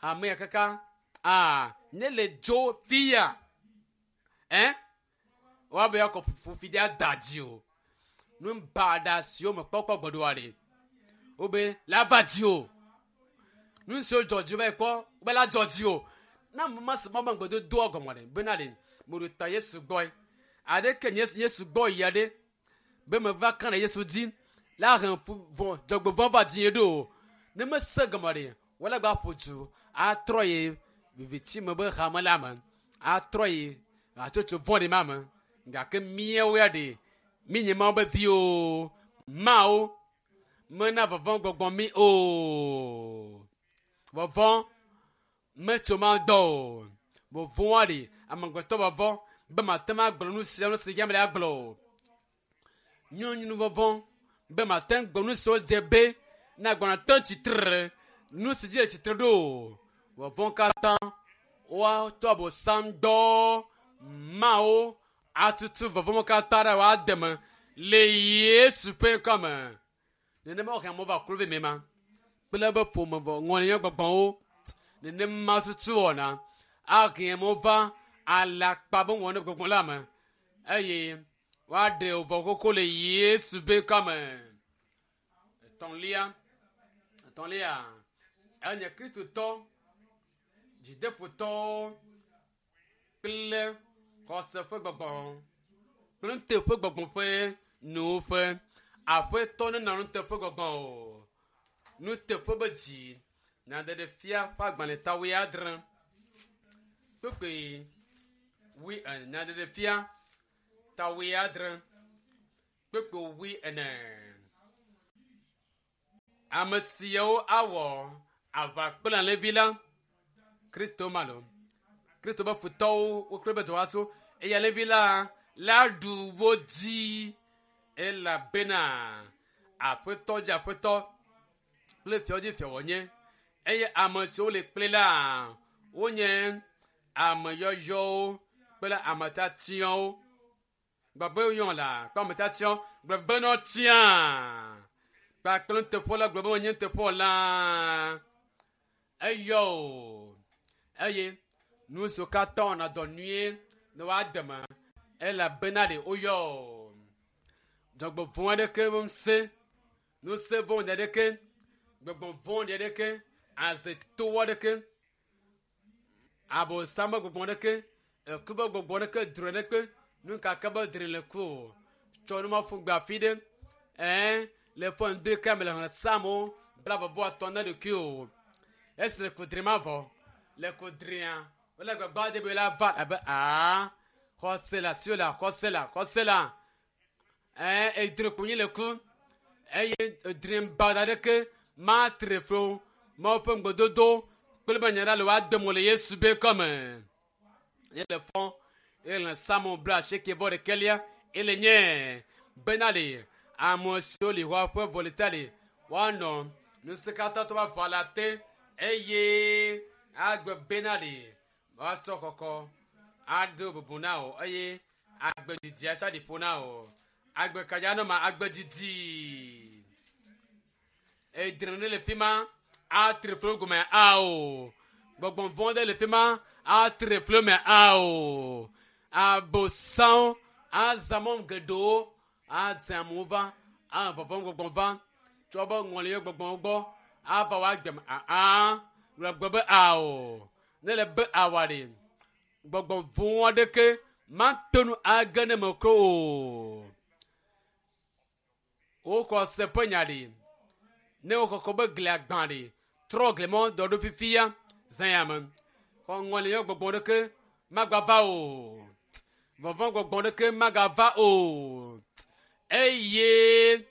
Speaker 1: hamea kaka aa ne le dzo fia ɛ woabe akɔ ƒofi ɖe ada dzi o nu baɖa siwo me kpɔkpɔ gbɔɖoa ɖe wobe la va dzi o nu siwo dzɔ dzi va yi kpɔ wobe la dzɔ dzi o na mama si mama gbedodoa gɔme ɖe bena ɖe meɖo ta Yesu gbɔe aɖeke nye Yesu gbɔ yia ɖe be meva ka ɖe Yesu dzi la he vɔ dzɔgbevɔ va dzi ɖo o ne mese gɔme ɖe wole gba ƒo du atrɔ yi viviti me be hame la me atrɔ yi hatsotso vɔ̃ɖi ma me gake míawo ya ɖe mi nye Mawu be viwo Mawu mena vɔvɔ̃ gbɔgbɔ mi o vɔvɔ̃ metso ma dɔ o vɔvɔ̃a ɖe amegbetɔ vɔvɔ̃ be mate ŋu agblɔ nu sia nu si dzi ame ɖe agblɔ o nyɔnu vɔvɔ̃ be mate ŋu gblɔ nu siwo dze be ne agblɔ te tsitre nu si dzi le tsitre ɖo o vɔvɔ̃ katã woatɔ abosam dɔ Mawu atutu vɔvɔ̃ katã ɖe woade me le Yesu ƒe ŋkɔ me nenema wohe amewo va kluvi me ma kple be ƒome vɔ ŋɔlinya gbɔgbɔwo nenema tutu wɔna ahe amewo va alakpa be wɔna gbɔgbɔ la me eye woaɖe vɔ koko le Yesu ƒe ŋkɔ me etɔ̃lia etɔ̃lia enye Kristotɔ dzideƒotɔwo kple xɔse ƒe gbɔgbɔ kple nuteƒe gbɔgbɔ ƒe nuwuƒe aƒetɔ nenɔ nuteƒe gbɔgbɔ o nuteƒe be dzi nyaɖeɖefia ƒe agbalẽ ta wuiadre kpekpe wui ene nyaɖeɖefia ta wuiadre kpekpe wui ene. Ame siawo awɔ aʋa kple alẽvi la. Kristo ma lo. Kristo be futɔwo wokple be dɔwɔatso eye alẽvi la la ɖu wo dzi elabena aƒetɔ dzi aƒetɔ kple fiawo dzi fia wònye eye ame siwo le kple la wonye ame yɔyɔwo kple ame tiatiawo. Gbagbe yɔ la kple ame tiatiawo gblɔ be nɔ tia kpakple nuteƒewɔla la gblɔ be menye nuteƒewɔla eyɔ o eye nu siwo katã wɔna dɔ nyuie ne woade me elabena ɖe woyɔ o. Dzɔgbevɔ̃ aɖeke ŋusẽ, ŋusẽ vɔ̃ɖi aɖeke, gbɔgbɔ vɔ̃ɖi aɖeke, azeto aɖeke, abosam ƒe gbɔgbɔ aɖeke, eku ƒe gbɔgbɔ aɖeke, drɔ̃e aɖeke, nu ka ke be drɔ̃e le ku o. Tsɔ nu ma ƒu gbe afi ɖe. Ɛɛ, le fɔ ŋdi ke me le xlẽ psalmo blaeve vɔ atɔ̃ na ɖokui o. Esi le kudri ma vɔ, le kudria, wole gbagba de be la va abe aa, xɔse le asiwò la, xɔse la, xɔse la. Ɛɛ, edre kponyi le ku eye edre baɖa aɖeke matre flo Mawu ƒe ŋugbedodo kple be nya ɖa le woade mo le Yesu be kɔme. Ye le fɔ ye le psalmo bla asieke vɔ ɖekɛlia ele nye bena le ame siwo li xɔ ƒe vɔlita le woanɔ ŋusẽkatãtɔ ƒe aʋa la te eye agbe bena le woatsɔ kɔkɔ ado bubu na wò eye agbe didi atsɔ aɖi ƒo na wò. Agbe kadza nɔ ma agbe didi. Edre ne le fi ma atre flo gɔme ao. Gbɔgbɔ vɔ̃ ɖe le fi ma atre flo me ao. Abosam azã mɔ geɖewo adze amewo va anɔ vɔvɔ̃m gbɔgbɔ va tsɔ be ŋɔliyɔ gbɔgbɔwo gbɔ ava woagbe me aa gblɔ gbe be ao. Ne le be awa ɖe gbɔgbɔ vɔ̃ aɖeke mate ŋu age ne me ko o. Woxɔ se ƒe nya ɖi. Ne wokɔkɔ be glia gbã ɖi, trɔ gli mɔ dɔ ɖo fifia zã ya me. Xɔ ŋɔliyɔ gbɔgbɔ ɖeke magava o. Vɔvɔ̃ gbɔgbɔ ɖeke magava o. Eye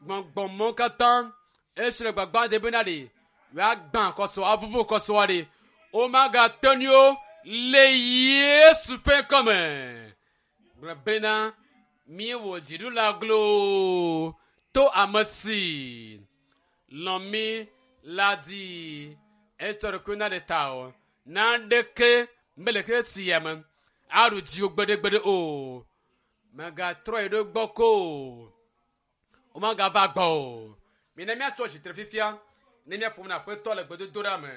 Speaker 1: gbɔgbɔmɔ katã esi le gbagba de bena ɖi, woagbã kɔsɔ avuvu kɔsɔa ɖi. Womagate ŋu o le Yesu ƒe ŋkɔme. Gblɔ bena míewɔ dziɖula glo to ame si lɔ̃ mí la dzi. Etsɔ ɖokui na ɖe ta o. Naneke mele xexe sia me aɖu dziwò gbeɖegbeɖe o. Mègatrɔ yi ɖo gbɔ ko o. Womagava gbɔ o. Mina míatso tsitre fifia ne míaƒo nu na Aƒetɔ le gbedodoɖa me.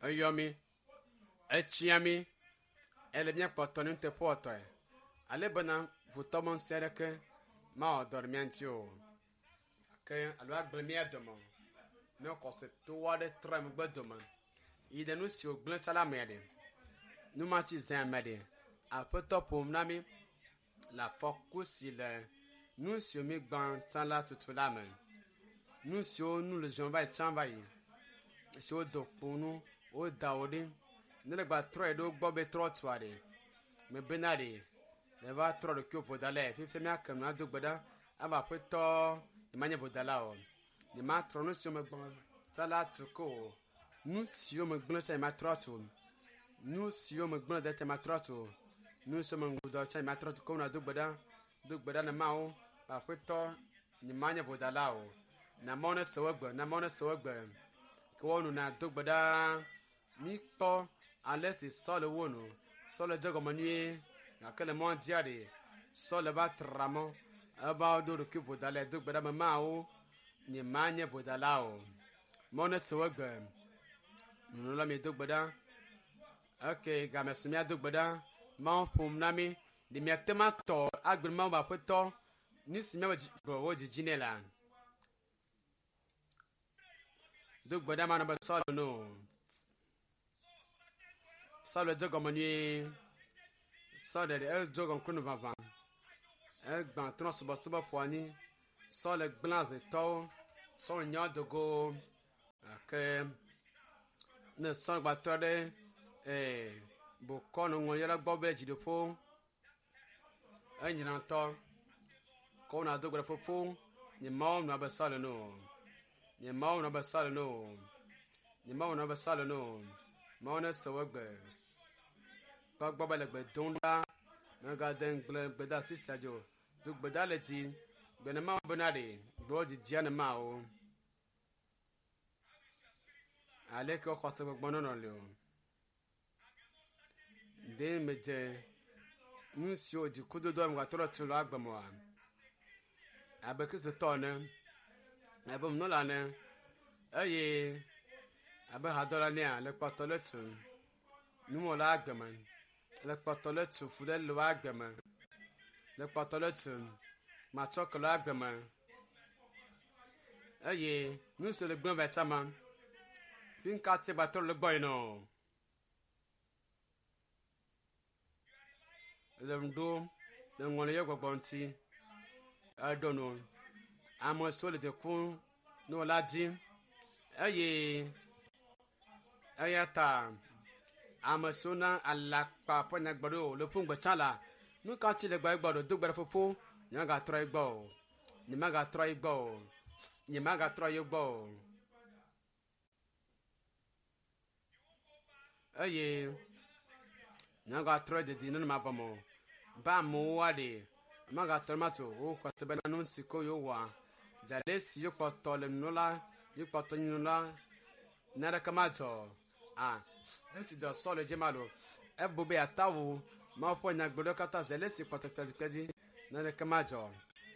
Speaker 1: Eyɔ mi, etsia mi, ele míakpɔtɔ ne nuteƒewɔtɔe. Ale bena futɔ me ŋusẽ aɖeke mawɔ dɔ ɖe mía ŋuti o. Ke alo agblẽ mía dome o. Ne xɔseto aɖe trɔ megbe dome yi ɖe nu si wògblẽ tsã la mea ɖe, nu ma tsi zã ame ɖe, Aƒetɔ ƒom na mí le afɔku si le nu siwo mígbã tsã la tutu la me. Nu siwo nu le zɔm va yi tsã va yi, siwo do kpo nu, woda wo ɖi. Ne le gba trɔ yi ɖo gbɔ be trɔ tua ɖe, mebena ɖe, le va trɔ ɖokuiwo vodalae. Fifia míake nu ado gbe ɖa ava Aƒetɔ nyemanye vodala o. Nyematrɔ nu siwo megbã tsã la tu ko o. Nu siwo megblẽ tsã nyematrɔ atu o. Nu siwo megblẽ ɖe tsã nyematrɔ atu o. Nu siwo meŋu dɔ tsã nyematrɔ atu ko. Do gbe ɖa, do gbe ɖa ne Mawu Aƒetɔ nyemanye vodala o. Na Mawu ne se wo gbe, na Mawu ne se wo gbe. Ke woanu na do gbe ɖa. Míkpɔ ale si Saul wɔ nu. Saul dze gɔme nyuie gake le mɔa dzia ɖe, Saul va tra mɔ. Eva ɖo ɖokui vodalae. Do gbe ɖa me Mawu nyemanye vodala o. Mawu ne se wo gbe. Nunɔla mi do gbe ɖa. Ok, game su míado gbe ɖa. Mawu ƒom na mí. Ɖe míate ŋu atɔ agbe Mawu be Aƒetɔ nu si míaƒe gbɔwɔ dzidzi nɛ la. Do gbe ɖa manɔ be Saul no. Saul dze gɔme nyuie. Saul ɖeɖe edze gɔme kple nu vavã. Egbã trɔ subɔsubɔ ƒo anyi. Saul gblẽ azetɔwo. Saul nya do go. Gake ne sɔgbatɔ ɖe ee bokɔ nuŋlɔɖi gbɔ be dziɖoƒo enyina ŋutɔ ko wona do gbe ɖe fofo nye mawo nɔ abe Saul ene o. Nye mawo nɔ abe Saul ene o. Nye mawo nɔ abe Saul ene o. Mawu nese wo gbe. Gbɔgbɔ be le gbe dom ɖa. Mègade ŋugble le gbedeasi sia dzi o. Do gbe ɖa le dzi. Gbe ne Mawu bena ɖe gbewo dzidzia ne mawo. Aleke woxɔ se gbɔgbɔ nɔnɔ li o. Ɖe medze nu siwo dzikudodo ame trɔ tu le agbe me oa? Abe Kristotɔ ene, abe nunɔla ene, eye abe hadɔla enea, le kpɔtɔ le tu numɔla agbe me, le kpɔtɔ le tu fu ɖe le agbe me, le kpɔtɔ le tu matsɔ ke le agbe me, eye nu si le gblẽ va tsama, fi ŋka te gba trɔ le gbɔ yina o. Le ŋu ɖom le ŋɔli ye gbɔgbɔ ŋuti eɖo nu ame siwo le dzikum ne wòla dzi eye eya ta ame siwo na alakpa ƒe nyagblɔɖi le ƒu ŋgbe tsã la nu ka ŋuti le gbe gbɔ ɖo do gbe ɖe fofo nyemagatrɔ yi gbɔ o nyemagatrɔ yi gbɔ o nyemagatrɔ yi gbɔ o eye nyemagatrɔ didi nenema vɔ me o be amewo aɖe magatrɔ ma tso woxɔ se bena nu si ko yewowɔa dzale si yekpɔtɔ le nunɔla yekpɔtɔ nye nunɔla naneke madzɔ a nu si dzɔ Saul dzi ma lo ebu be yeata wu Mawu ƒe nyagblɔɖiwo katã zele si kpɔtɔ fiazikpui dzi naneke madzɔ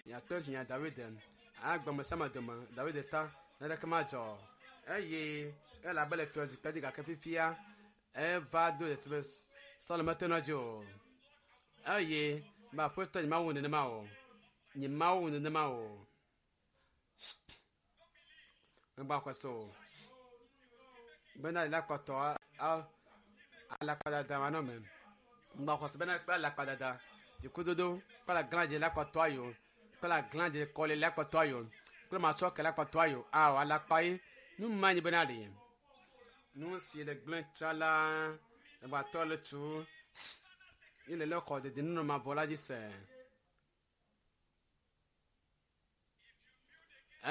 Speaker 1: yeato nya David agbeme sia me dome David ta naneke madzɔ eye elabe le fiazikpui dzi gake fifia eva do dzesi be Saul mete nɔ dzi o eye be aƒetɔ nyemawu nenema o nyemawu nenema o megba xɔ se o bena le kpɔtɔ alakpadada manɔ me ŋgba xɔ se bena kple alakpadada dzikudodo kple aglãdze la kpɔtɔ ayo kple aglãdze kɔli la kpɔtɔ ayo kple matsɔke la kpɔtɔ ayo awɔ alakpa ye nu ma nyi bena ɖe nu si le gblẽ tsã la egbatɔ le tu ye le le xɔ dede nunɔ mavɔ la dzi se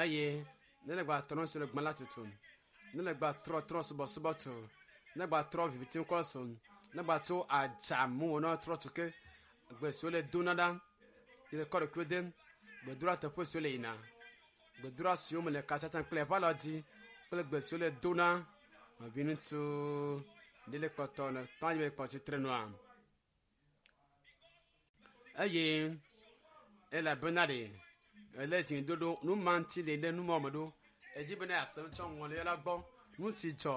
Speaker 1: eye ne le gba trɔ si le gbã la tutu ne le gba trɔ trɔ subɔsubɔ tu ne gba trɔ viviti ŋkɔ so ne gba tso adzamu wònɔ trɔ tu ke gbe siwo le dona ɖa yi le kɔ ɖokui dem gbedora teƒe siwo le yina gbedora siwo me le katsatsa kple eƒe alɔ dzi kple gbe siwo le dona nɔvi ŋutsu ɖe le kpɔtɔ ne kpã yi kpɔ tsitre nua eye elabena ɖe ele dzidodo nu ma ŋuti le ɖe numɔ me ɖo edzi bena yease ŋutsɔ ŋɔli la gbɔ nu si dzɔ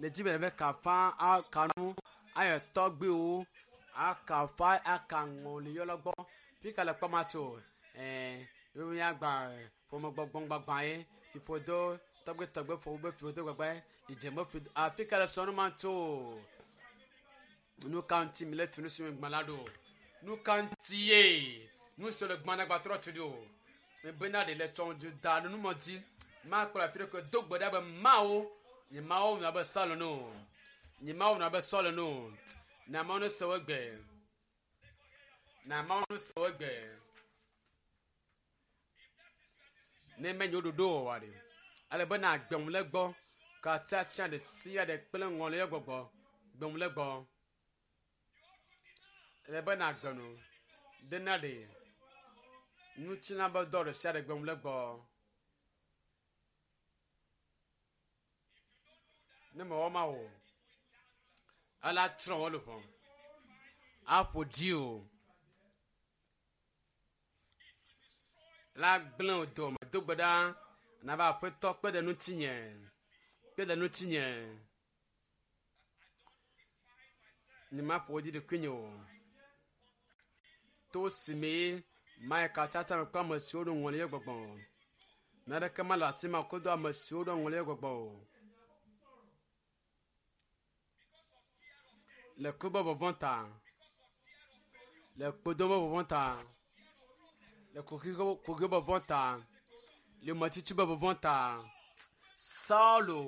Speaker 1: le dzi bena be kafa akanu ayɔ tɔgbiwo akafa aka ŋɔli yɔ la gbɔ fika le kpɔma tso ɛɛ míagba ƒomegbɔgbɔngbagba ye fiƒodo tɔgbi tɔgbi ƒo be fiƒodo gbagba ye dzidzeme fi afika le sɔ nu ma tso nu ka ŋuti mi le tu nu si mi gbã la ɖo nu ka ŋuti ye nu si le gbã na gba trɔ tu ɖo mebena ɖe le tsɔ du da nu numɔ dzi makplɔ afi ɖe ke do gbe ɖa be mawo nye mawo nɔ abe Saul ene o nye mawo nɔ abe Saul ene o na mawo ne se wo gbe na mawo ne se wo gbe ne menye wo ɖoɖo o wa ɖe ale be na gbem le gbɔ katia fia ɖe sia ɖe kple ŋɔli ye gbɔgbɔ gbem le gbɔ ele be na gbe nu ɖe na ɖe ŋutilã be dɔ ɖe sia ɖe gbem le gbɔ ne mewɔ ma o ela trɔ wo luʋɔ aƒo dzi o la gblẽ wo dome do gbe ɖa nava aƒetɔ kpe ɖe ŋutinye kpe ɖe ŋutinye nyemaƒo wo dzi ɖokuinye o to si me mayi katsatsa me kple ame siwo ɖo ŋɔli ye gbɔgbɔ o naneke mele asi ma kodo ame siwo ɖo ŋɔli ye gbɔgbɔ o le ku be vɔvɔ̃ ta le kpodo be vɔvɔ̃ ta le kuxi be vɔvɔ̃ ta le metsitsi be vɔvɔ̃ ta Saulo